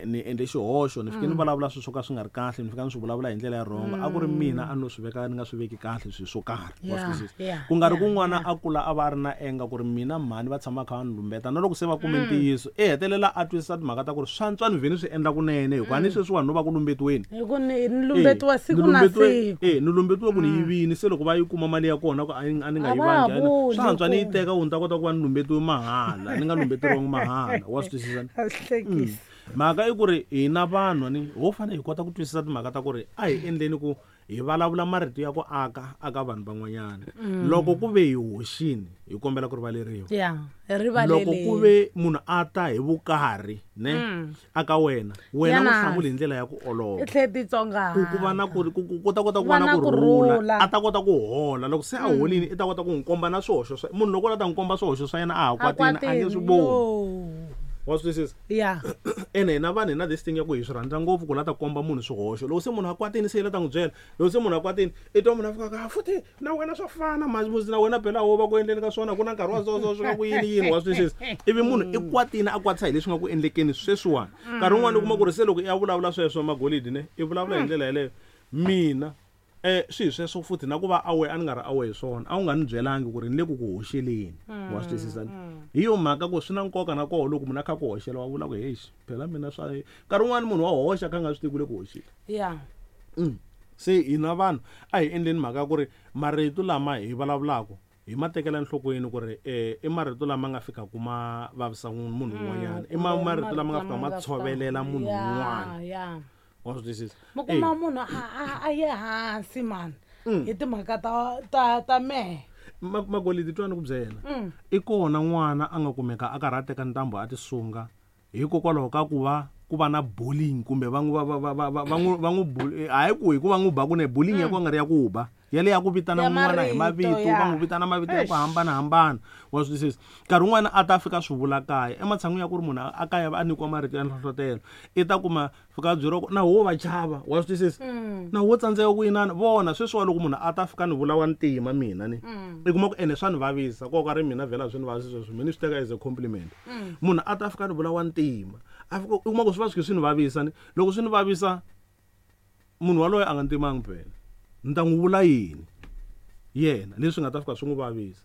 S1: ni endle xihoxo, ni fike ni vulavula swilo swo ka swi nga ri kahle, ni fika ni swi vulavula hi ndlela ya wrong, a ku ri mina a ni lo swi veka ni nga swi veki kahle swilo swo karhi. Wa swi twisisa? Ku nga ri ku n'wana a kula a va a ri na anger ku ri mina mhani va tshama kha va ni lumbeta, na loko se va kume ntiyiso, i hetelela a twisisa timhaka ta ku ri swa antswa ni vhe ni swi endla kunene, hikuva ni sweswiwani no va ku lumbetiweni.
S2: Hi ku ni lumbetiwa siku na siku.
S1: Ni lumbetiwe ku ni yivini, se loko va yi kuma mali ya kona ku a ni nga
S2: A va ha
S1: yivangi,
S2: vuli
S1: swa antswa ni yi
S2: ku
S1: teka ku ni ta kota ku va ni lumbetiwe mahala, ni nga lumbeteriwangi mahala. Wa swi twisisa?
S2: A swi hlekisi.
S1: Mhaka i ku ri hina vanhu ni ho fanele hi kota ku twisisa timhaka ta ku ri a hi endleni ku hi vulavula marito ya ku aka aka vanhu van'wanyana. Loko ku ve hi hoxini, hi kombela ku rivaleriwa.
S2: Ya, hi rivaleleni.
S1: Loko ku ve munhu a ta hi vukarhi, ne, aka wena, wena
S2: Yana.
S1: u hlamuli hi ndlela ya ku olova.
S2: I tlhe titsongahata.
S1: Ku, ku va na ku, ku, ku, ku ta kota ku
S2: Va
S1: va na
S2: na
S1: ku
S2: ku
S1: rhula.
S2: rhula.
S1: A ta kota ku hola. Loko se a holini, i ta kota ku n'wi komba na swihoxo swa, munhu loko a ta n'wi komba swihoxo swa yena a ha
S2: A
S1: kwatini, a nge swi
S2: kwatini,
S1: voni.
S2: yo.
S1: Wa swi twisisa? Ene hina vanhu hi na this thing ya ku hi swi rhandza ngopfu ku la ta komba munhu swihoxo. Loko se munhu a kwatini se yi la ta n'wi byela. Loko se munhu a kwatini, i twa munhu a fika ka, futhi na wena swa fana, masi na wena phela wo va ku endleni ka swona, ku na nkarhi wa so so swi nga ku yini yini, wa swi twisisa? Ivi munhu i kwatini a kwatisa hi leswi nga ku endlekeni sweswiwani. Nkarhi wun'wani u kuma ku ri se loko i ya vulavula sweswo magolidi ne, i vulavula hi ndlela yeleyo. Mina swi hi sweswo futhi na ku va aware, a ni nga ri aware hi swona, a wu nga ni byelangi ku ri ni le ku ku hoxeleni. Wa swi twisisa? Hi yo mhaka ku swi na nkoka na koho loko munhu a kha ku hoxela wa vula ku hexi phela mina swa nkarhi wun'wani munhu wa hoxa kha a nga swi tivi ku le ku hoxeni. Se hina vanhu a hi endleni mhaka ya ku ri marito lama hi vulavulaka hi ma tekela enhlokweni ku ri, i marito lama nga fikaka ma vavisa munhu un'wanyana, i marito lama nga fikaka ma tshovelela munhu un'wana. Wa swi twisisa?
S2: Mi kuma munhu a ye hansi mani hi timhaka ta mehe.
S1: Magolidi twa ni ku byela. I kona n'wana a nga kumeka a karhi a teka ntambu a tisunga hikokwalaho ka ku va ku va na bullying kumbe va n'wi, va, va, va, va, va n'wi, va n'wi hayi ku hi ku va n'wi ba kunene, bullying ya ku nga ri ya ku ba. Yale ya ku vitana n'wana hi mavito, va n'wi vitana mavito ya ku hambanahambana. Wa swi twisisa? Nkarhi wun'wana a ta fika swi vula kaya. Ematshan'wini ya ku ri munhu a kaya a nyikiwa marito ya nhlohlotelo, i ta kuma fika a byeriwa ku na wo va chava. Wa swi twisisa? Na wo tsandzeka ku inana. Vona sweswiwa loko munhu a ta fika ni vula wa ntima mina ni, i kuma ku ene swa ni vavisa. Ko ka ri mina vhela swi ni vavisa sweswo, mina ni swi teka as a compliment. Munhu a ta fika ni vula wa ntima, a fika u kuma ku swi va swi kha swi ni vavisa ni. Loko swi ni vavisa, munhu waloye a nga ntimangi phela. Ni ta n'wi vula yini yena leswi nga ta fika swi n'wi vavisa?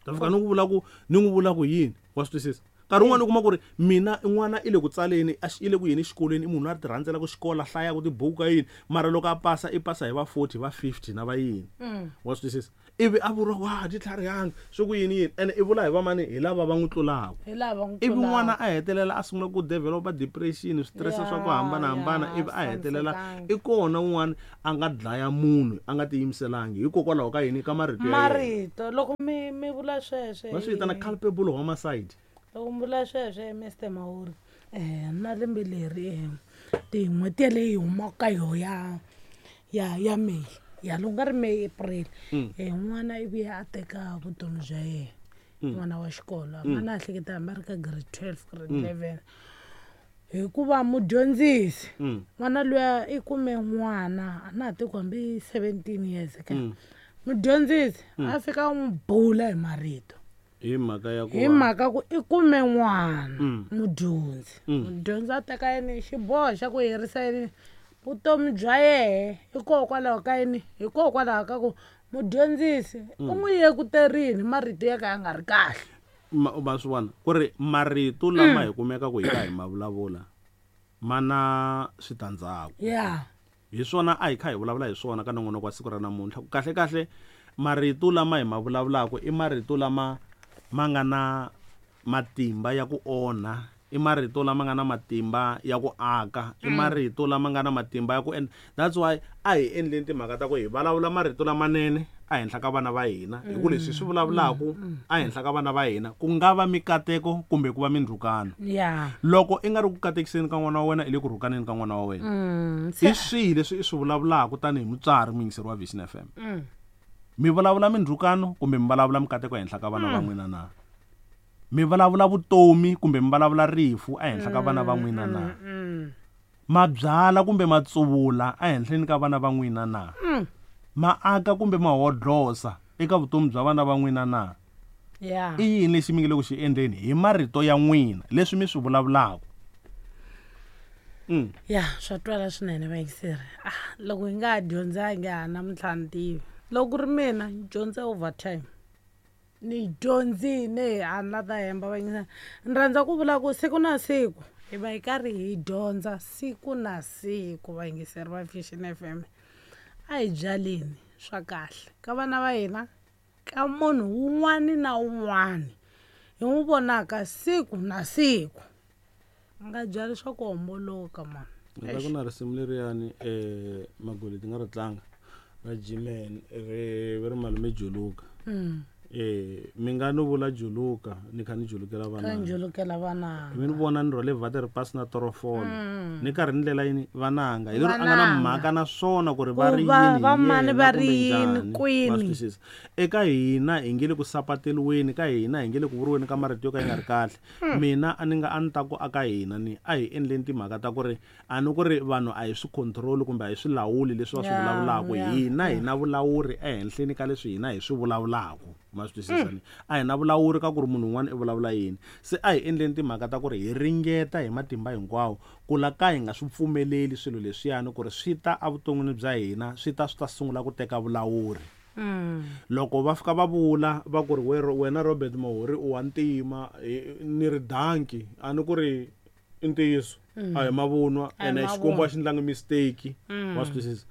S1: Ta fika ni n'wi vula ku, ni n'wi vula ku yini? Wa swi twisisa? Nkarhi wun'wani u kuma ku ri mina n'wana i le ku tsaleni, a i le ku yeni exikolweni, i munhu loyi a ti rhandzelaka xikolo, a hlayaka tibuku ka yini, mara loko a pasa i pasa hi va 40, va 50 na va yini. Wa swi twisisa? Ivi a vuriwa ku, ha, ti tlharihanga, swi ku yini yini, ene i vula hi va mani? Hi lava va n'wi tlulaka.
S2: Hi lava va n'wi
S1: Ivi
S2: tlulaka.
S1: n'wana a hetelela a sungula ku developa depression, switirese swa ku hambanahambana, ivi a hetelela i kona un'wana a nga dlaya munhu a nga tiyimiselangi hikokwalaho ka yini? Ka marito ya yena.
S2: Marito, loko mi vula sweswo,
S1: Va swi vitana culpable homicide.
S2: Loko mi vula sweswo, Mister Mahuri, na lembe leri, tin'hweti yaleyo yi humaka ka yoho ya May, ya loko nga ri May, April, n'wana i vuye a teka vutomi bya yena. N'wana wa xikolo, a na hleketa hambi a ri ka grade 12, grade 11. Hikuva mudyondzisi, n'wana luya i kume n'wana, a na ha tivi ku hambi 17 years ka. Mudyondzisi a fika a n'wi bula hi marito.
S1: Hi mhaka ya ku
S2: Hi
S1: va
S2: mhaka ku i kume n'wana, mudyondzi. Mudyondzi a teka yini xiboho xa ku herisa yini vutomi bya yehe, hikokwalaho ka yini? Hikokwalaho ka ku mudyondzisi u n'wi yekuterini marito ya ka ya nga ri kahle.
S1: Ma swi vona ku ri marito lama hi kumeka ku hi ka hi ma vulavula ma na switandzhaku. Hi swona a hi kha hi vulavula hi swona ka nongonoko wa siku ra namuntlha. Ku kahle kahle marito lama hi ma vulavulaka i marito lama ma nga na matimba ya ku onha, i marito lama nga na matimba ya ku aka, i marito lama nga na matimba ya ku endla. That's why a hi endleni timhaka ta ku hi vulavula marito lamanene ehenhla ka vana va hina, hi ku leswi hi swi vulavulaka ehenhla ka vana va hina ku nga va mikateko kumbe ku va mindzhukano. Loko i nga ri ku katekiseni ka n'wana wa wena, i le ku rhukaneni ka n'wana wa wena. I swihi leswi i swi vulavulaka tanihi mutswari muyingiseri wa Vision FM? Mi vulavula mindzhukano kumbe mi vulavula mikateko ehenhla ka vana va n'wina na? Mi vulavula vutomi kumbe mi vulavula rifu ehenhla ka vana va n'wina na? Ma byala kumbe ma tsuvula ehenhleni ka vana va n'wina na? Ma aka kumbe ma hodlosa eka vutomi bya vana va n'wina na? I yini lexi mi nge le ku xi endleni hi marito ya n'wina leswi mi swi vulavulaka?
S2: Ya, swa twala swinene vayingiseri. Loko hi nga ha dyondzangi ha namuntlha ni tivi. Loko ku ri mina ni dyondze overtime. Ni dyondzile, a ni la ta hemba vayingiseri. Ni rhandza ku vula ku siku na siku hi va hi karhi hi dyondza siku na siku vayingiseri va Vision FM. A hi byaleni swa kahle ka vana va hina, ka munhu wun'wani na wun'wani hi n'wi vonaka siku na siku. A nga byali swa ku homboloka mani.
S1: Ni ta ku na risimu leriyani, Magoli ti nga ri tlanga ra G-Man, ri va ri malume Juluka. Mi nga no vula Juluka ni kha ni julukela vana.
S2: Kha ni julukela vana.
S1: Mi ni vona ni rhwale vhati ri pasi na torofolo. Ni karhi ni ndlela yini vananga. Hi lero a nga na
S2: Vananga.
S1: mhaka na swona ku ri va ri
S2: Ku va
S1: yini hi
S2: va mani
S1: yena
S2: va ri
S1: kumbe
S2: yini,
S1: njhani.
S2: kwini.
S1: Va swi twisisa. Eka hina hi nge le ku sapateliweni, ka hina hi nge le ku vuriweni ka marito yo ka ya nga ri kahle. Mina a ni nga a ni ta ku aka hina ni a hi endleni timhaka ta ku ri a ni ku ri vanhu a hi swi control kumbe a hi swi lawuli leswi va swi vulavulaka. Hina hi na vulawuri ehenhleni ka leswi hina hi swi vulavulaka. Ma swi twisisa ni? A hi na vulawuri ka ku ri munhu un'wana i vulavula yini. Se a hi endleni timhaka ta ku ri hi ringeta hi matimba hinkwawo ku la ka hi nga swi pfumeleli swilo leswiyani ku ri swi ta evuton'wini bya hina, swi ta swi ta sungula ku teka vulawuri. Loko va fika va vula va ku ri wena Robert Mahuri u wa ntima, ni ri danki, a ni ku ri i ntiyiso, a hi mavunwa,
S2: A hi
S1: ene Xikwembu a xi ndlangi mistake. Wa swi twisisa?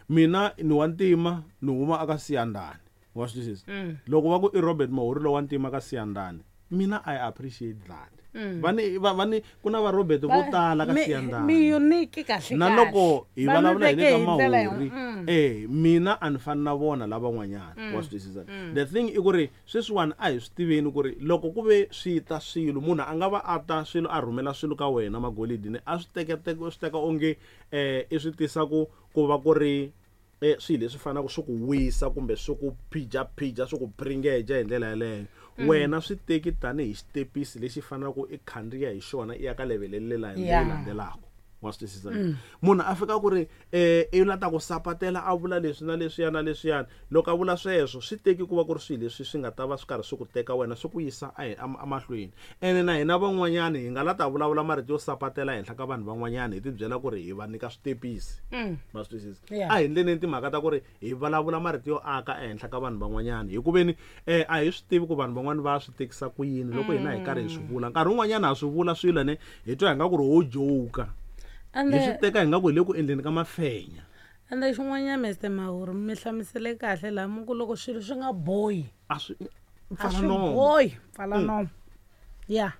S1: Mina ni wa ntima, ni huma aka Siyandhani. Wa swi twisisa? Loko va ku i Robert Mahuri lowa ntima ka Siyandhani, mina I appreciate that. Va ni, va, va ni, ku na va Robert vo tala ka Siyandhani.
S2: Mi unique kahle
S1: Na
S2: kahle.
S1: loko hi
S2: Va mi
S1: vulavula hi le
S2: veke
S1: ka
S2: hi ndlela ya
S1: Mahuri, mina a ni fani na vona lavan'wanyana. Wa swi twisisa? The thing i ku ri sweswiwani a hi swi tiveni ku ri loko ku ve swi ta swilo, munhu a nga va a ta swilo a rhumela swilo ka wena magolidi ni a swi teka, teka, swi teka onge, i swi tisa ku va ku ri Swilo leswi fanaka swi ku wisa kumbe swi ku phija swi ku bringeja hi ndlela yaleyo. Wena swi teki tanihi xitepisi lexi faneleke i khandziya hi xona i ya ka level leyi landzelaka. Wa swi twisisa? Munhu a fika ku ri i la ta ku sapatela a vula leswi na leswiya na leswiyani. Loko a vula sweswo swi teki ku va ku ri swilo leswi swi nga ta va swi karhi swi ku teka wena swi ku yisa emahlweni. Ene na hina van'wanyani hi nga la ta vulavula marito yo sapatela henhla ka vanhu van'wanyani hi ti byela ku ri hi va nyika switepisi. Ma swi twisisa? A hi ndleleni timhaka ta ku ri hi vulavula marito yo aka ehenhla ka vanhu van'wanyani, hi ku veni a hi swi tivi ku vanhu van'wani va swi tekisa ku yini loko hina hi karhi hi swi vula. Nkarhi wun'wanyana ha swi vula swilo ne hi twa hi nga ku ri ho joka, hi swi teka hi nga ku hi le ku endleni ka mafenya.
S2: Ende xin'wanyana Mr Mahuri mi hlamusele kahle laha mi ku loko swilo swi nga bohi
S1: a swi
S2: bohi pfala nomo. Ya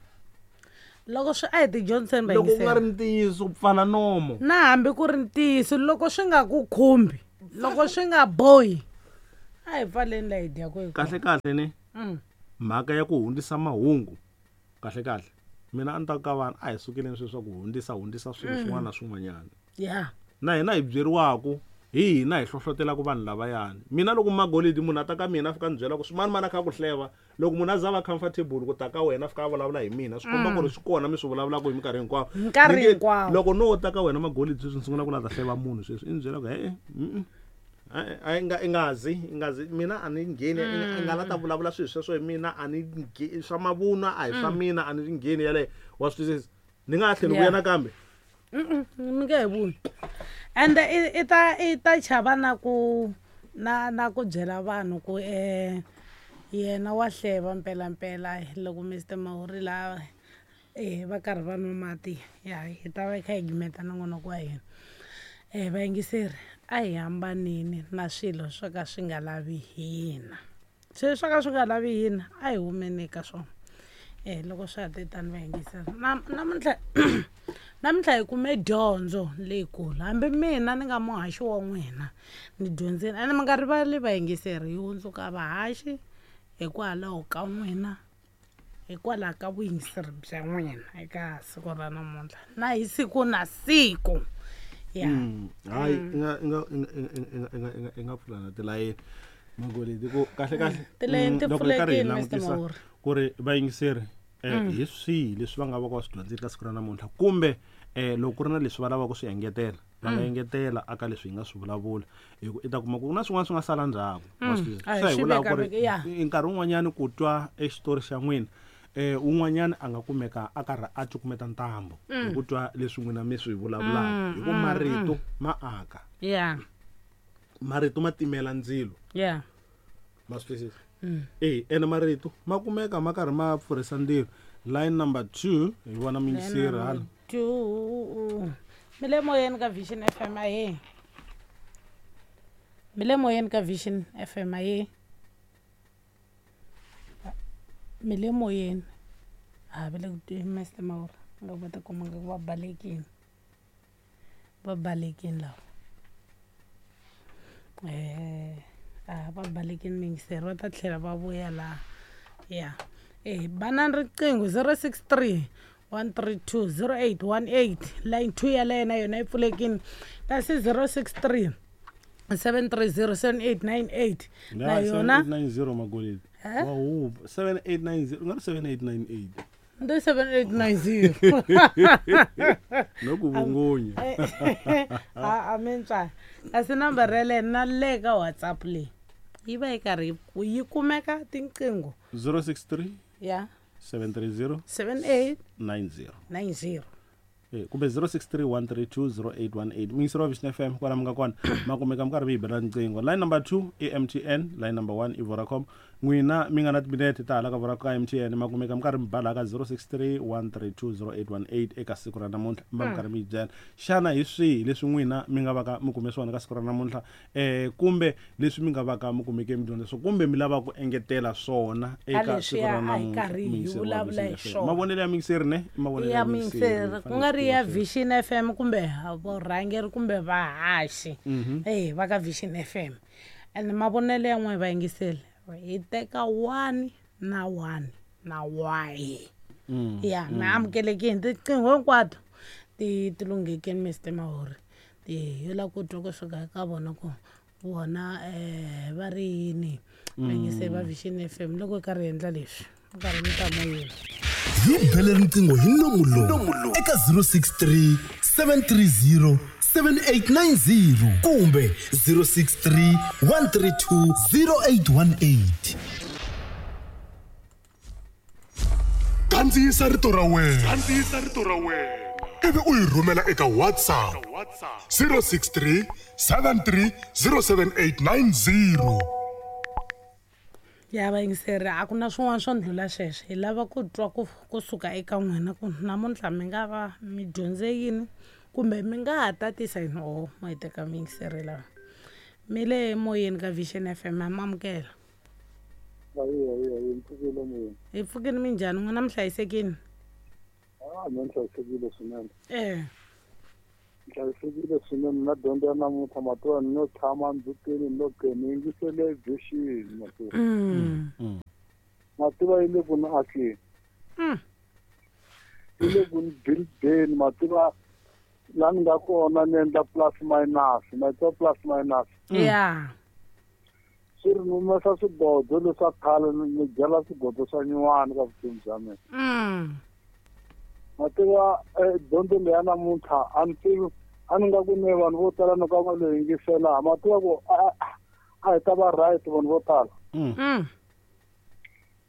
S2: loko swi a hi tidyondziseni
S1: va loko ku nga ri ntiyiso pfala nomo.
S2: Na hambi ku ri ntiyiso loko swi nga ku khumbi, loko swi nga bohi a hi pfaleni laha hi dyaka hi
S1: kahle kahle ne mhaka ya ku hundzisa mahungu kahle kahle mina a ni ta ka vanhu a hi sukeleni sweswi swa ku hundzisa swilo swin'wana na swin'wanyana. Na hina hi byeriwaku hi hina hi hlohlotelaka vanhu lavayani. Mina loko Magolidi munhu a ta ka mina a fika ni byela ku swimani mani a kha ku hleva, loko munhu a za va comfortable ku ta ka wena a fika a vulavula hi mina swi komba ku ri swi kona mi swi vulavulaka hi minkarhi hinkwayo.
S2: Nkarhi hinkwawo.
S1: Loko no ta ka wena Magolidi sweswi ni sungula ku la ta hleva munhu sweswi i ni byela ku a i ngazi mina a ni ngheni, i nga la ta vulavula swilo sweswo hi mina a ni swa mavunwa a hi swa mina a ni ngheni yaleyo. Wa swi twisisa? Ni nga ha tlheli vuya nakambe.
S2: Mi nge he vuyi. Ende i ta chava na ku na ku byela vanhu ku yena wa hleva mpelampela loko Mr Mahuri la va karhi va nwa mati ya hi ta va kha hi gimeta nongonoko wa hina. Vayingiseri a hi hambanini na swilo swo ka swi nga lavi hina. Swilo swo ka swi nga lavi hina a hi humeni eka swona. Loko swa ha te tani vayingiseri namuntlha namuntlha hi kume dyondzo leyikulu. Hambi mina ni nga muhaxi wa n'wina ni dyondzile. Ene mi nga rivali vayingiseri hi hundzuka vahaxi hikwalaho ka n'wina, hikwalaho ka vuyingiseri bya n'wina eka siku ra namuntlha na hi siku na siku.
S1: Hayi i nga pfula na tilayeni Magolidi ku kahle kahle
S2: tilayeni ti pfulekile Mr Mahuri
S1: ku ri vayingiseri hi swihi leswi va nga va ka va swi dyondzile ka siku ra namuntlha kumbe loko ku ri na leswi va lavaka ku swi engetela va nga engetela aka leswi hi nga swi vulavula hi ku i ta kuma ku na swin'wana swi nga sala ndzhaku. Swa hi vulaka ku ri nkarhi wun'wanyani ku twa exitori xa n'wina un'wanyana a nga kumeka a karhi a cukumeta ntambu hi ku twa leswi n'wina mi swi vulavulaka hi ku marito ma aka. Marito ma timela ndzilo. Ma swi twisisa? Ene marito ma kumeka ma karhi ma pfurhisa ndzilo. Line number 2 hi vona muyingiseri hala.
S2: 2 mi le moyeni ka Vision FM ahe. Mi le moyeni ka Vision FM ahe. Mi le moyeni. Ha va le ku Mr Mahuri nga va ta kuma nga va balekile. Va balekile lava. Va balekile muyingiseri va ta tlhela va vuya laha. Ya. Banani riqingho 063 132 0818 line 2 yaleyo na yona yi pfulekile. Kasi 063 730 7898 na yona
S1: 7890 Magolidi. Wa hupa 7890 u nga ri 7898.
S2: Ndi 7890.
S1: No ku vungunya.
S2: A mintswa. Kasi nambara yaleyo na le ka WhatsApp leyi yi va yi karhi yi kumeka tinqingho.
S1: 063
S2: ya
S1: 730
S2: 78
S1: 90
S2: 90.
S1: Kumbe 063 132 0818. Muyingiseri wa Vision FM kwala mi nga kona ma kumeka mi karhi mi yi bela riqingho. Line number 2 i MTN, line number 1 i Vodacom. N'wina mi nga na timinete ta hala ka Vodacom ka MTN ma kumeka mi karhi mi bala ka 063 132 0818 eka siku ra namuntlha mi va mi karhi mi yi byela. Xana hi swihi leswi n'wina mi nga va ka mi kume swona ka siku ra namuntlha kumbe leswi mi nga va ka mi kumeke mi dyondza swona kumbe mi lava ku engetela swona eka siku ra namuntlha? Mavonelo ya muyingiseri ne i mavonelo
S2: ya muyingiseri ku nga ri ya Vision FM kumbe vurhangeri kumbe vahaxi va ka Vision FM. And mavonelo ya n'we vayingiseri hi teka 1 na 1 na y. Ya mi amukelekile tiqingho hinkwato ti lunghekile Mr Mahuri. Hi la ku twa kusuka eka vona ku Vona va ri yini vayingiseri va Vision FM loko hi karhi hi endla leswi nkarhi mi ta moyeni.
S3: Hi bele riqingho hi nomu lowu eka 063 730 7890 kumbe 063 132 0818.
S4: Kandziyisa rito ra wena. Kandziyisa rito ra wena. Ivi u yi rhumela eka WhatsApp 063 73 07890.
S2: Ya vayingiseri, a ku na swin'wana swo ndlula sweswo. Hi lava ku twa ku kusuka eka n'wina ku namuntlha mi nga va mi dyondze yini kumbe mi nga ha tatisa yini. O ma hi teka muyingiseri lava mi le moyeni ka Vision FM, ha mi amukela.
S5: Ayi, mpfukile moyeni.
S2: Hi pfukile, minjhani n'wina, mi hlayisekile?
S5: Ah, mina ni hlayisekile swinene.
S2: Eh.
S5: Hlayisekile swinene na dyondzo ya namuntlha mativa ni no tshama ndzhutini ni lo ke ni yingisele Vision mativa. Mativa yi le ku ni akeni. Yi le ku ni buildeni mativa la ni nga kona ni endla plus minus, mativa plus minus.
S2: Yeah.
S5: Swi ri ni humesa swigodo leswa khale ni byala swigodo swa nyuwani ka vutomi bya mina. Mativa dyondzo leyi ya namuntlha a ni tivi a ni nga ku ni vanhu vo tala ni ka va lo yingisela mativa ku a hi ta va right vanhu vo tala.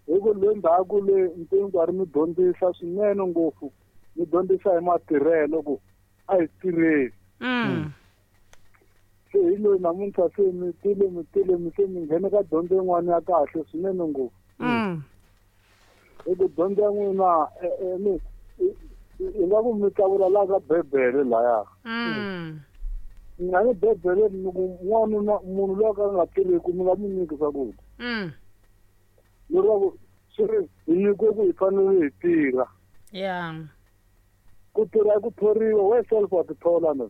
S5: Hi ku le ndzhaku le ni karhi mi dyondzisa swinene ngopfu, mi dyondzisa hi matirhelo ku a hi tirheni. Se hi loyi namuntlha se mi tile mi tile mi se mi nghene ka dyondzo yin'wana ya kahle swinene ngopfu. Hi ku dyondzo ya n'wina i nga ku mi tlakula laha ka bebele laya. Nga ni bebele ni ku n'wanuna munhu loyi a ka a nga tirheki mi nga mi nyiki swakudya. Leswaku swi ri hi nyikiwe ku hi fanele hi tirha.
S2: Yeah.
S5: Ku tirha ku thoriwa we self wa tithola na.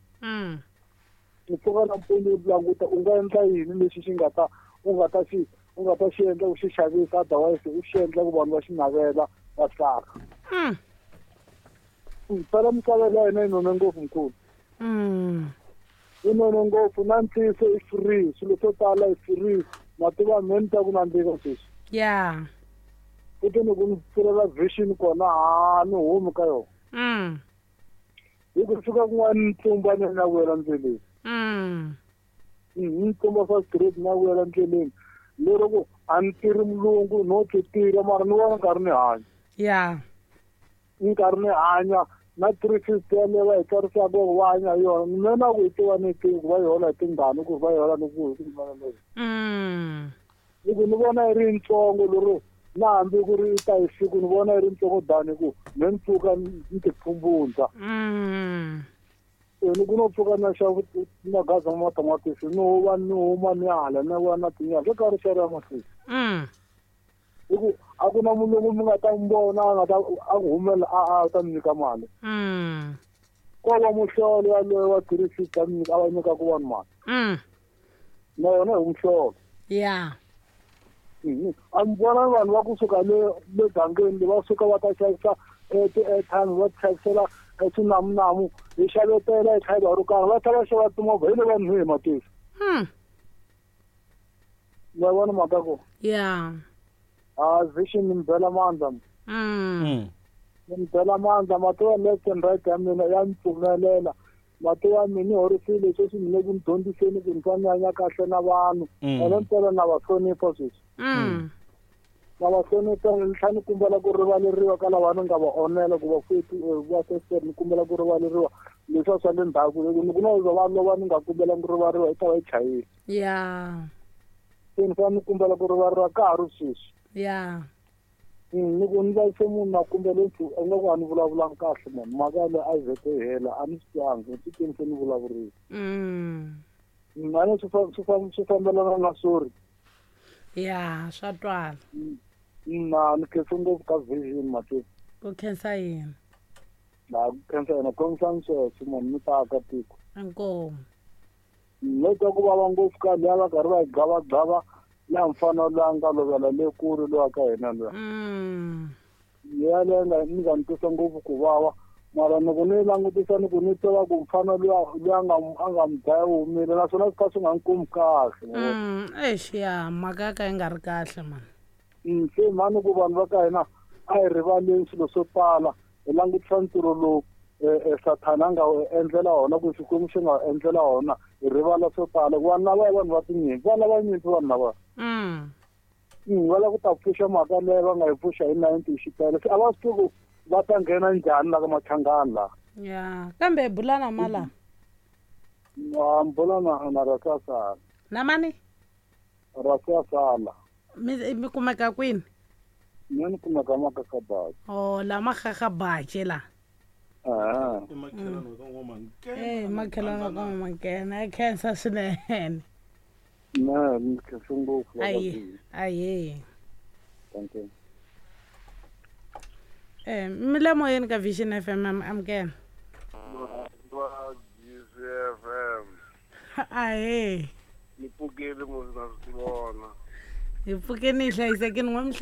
S5: U pfuka nampundzu u languta u nga endla yini lexi xi nga ta u nga ta xi u nga ta xi endla u xi xavisa otherwise u xi endla ku vanhu va xi navela va tsaka. Phela misava ya hina yi none ngopfu mkhulu. Yi none ngopfu na ntiyiso i free, swilo swo tala i free. Mativa me ni ta ku nandzika sweswi.
S2: Yeah.
S5: Futhi ni ku ni pfulela vision kona ha ni humi ka yona. Hi ku fika kun'wana ni tlumba ni na wela ndleleni. Ni tlumba swa straight na wela ndleleni. Lero ku a ni tirhi mulungu no ti tirha mara ni vona nkarhi ni hanya.
S2: Yeah.
S5: Nkarhi ni hanya na 350 yaleyo va hi tsarisaka ku va hanya hi yona. Mina na ku yi tiva ni tivi ku va yi hola hi tingani ku va yi hola ni ku hi ku leyi. Hi ku ni vona yi ri yitsongo lero na hambi ku ri ta hi siku ni vona yi ri yitsongo dani ku me ni pfuka ni ti phumbundza. Ni ku no pfuka na xava magaza ma matamatisi ni huva ni huma ni hala ni vona tinyala swo karhi xerha mahlweni. Hi ku a ku na mulungu mi nga ta n'wi vona a nga ta a ku humela a ta mi nyika mali. Ko va muhlolo yaloye wa 350 a mi nyika a va nyikaku vanhu mali. Na yona hi muhlolo.
S2: Yeah.
S5: A mi vona vanhu va kusuka le le gangeni va suka va ta xavisa ti-airtime va ti xavisela swinamunamu hi xavetela hi tlhela ro karhi va tlhela va xava timovha hi le vanhu hi matisi. Ma vona mhaka ko?
S2: Yeah.
S5: Ah, vision ni bela mandla. Ni bela mandla mativa left and right ya mina ya ni pfumelela. Mativa mina ni horisile sweswi ni le ku ni dyondziseni ku ni fanele ni hanya kahle na vanhu. Ene ntsena na va hlonipha sweswi. Na va hlonipha ni tlhela ni kombela ku rivaleriwa ka lava ni nga va onhela ku va futhi va seseri ni kombela ku rivaleriwa leswiya swa le ndzhaku ni ku na va lova ni nga kombela ku rivaleriwa yi ta va yi chayile.
S2: Yeah.
S5: Se ni fanele ni kombela ku rivaleriwa ka ha ri sweswi.
S2: Yeah.
S5: Ni ku ni vavise munhu na kombela ingaku a ni vulavulanga kahle mani mhaka yaleyo a yi vhete yi hela a ni swi twangi ni titweni se ni vulavurile. A ni swi fambelana na sorry.
S2: Yeah, swa twala.
S5: Na ni khensa ngopfu ka Vision Matiko.
S2: Ku khensa yini?
S5: Na ku khensa yena khomisani sweswo munhu mi ta aka tiko.
S2: Inkomu.
S5: No twa ku vava ngopfu ka liya va karhi va yi gavagava ya mfana loyi a nga lovela le kule loyi ka hina luya. Yaleyo nga ni nga ni twisa ngopfu ku vava Mara loko ni langutisa ni ku ni tiva ku mfana luya a nga mi dlaya u humile, naswona swi kha swi nga ni kumi kahle.
S2: Eish, ya mhaka ya ka yi nga ri kahle mani.
S5: Se mhani ku vanhu va ka hina a hi rivaleni swilo swo tala, hi langutisa ntirho lowu Sathana a nga wu endlela wona, ku Xikwembu xi nga wu endlela wona, hi rivala swo tala. Ku vanhu lava i vanhu va tinyimpi, va lava nyimpi vanhu lava. Va lava ku ta pfuxa mhaka leyi va nga yi pfuxa hi 90 xipele. Se a va swi tivi ku va ta nghena njhani la ka Machangani laha.
S2: Ya, kambe bula na mala.
S5: Bula na Rasiasala.
S2: Na mani?
S5: Rasiasala.
S2: Mi kumeka kwini?
S5: Mina ni kumeka Makakabaji.
S2: Oh, la Makakabaji la.
S1: I makhelwani wa ka N'wamankena.
S2: Eh, makhelwani wa ka N'wamankena, ya khensa swinene.
S5: Ne, ni khensa ngopfu la ka
S2: Ayi,
S5: Bini.
S2: ayi.
S5: Thank you.
S2: Mi le moyeni ka Vision FM, amukela.
S6: Va GCFM.
S2: Ahe.
S6: Ni pfukile mos na swi vona.
S2: Hi pfukeni hi hlayisekile, n'we mi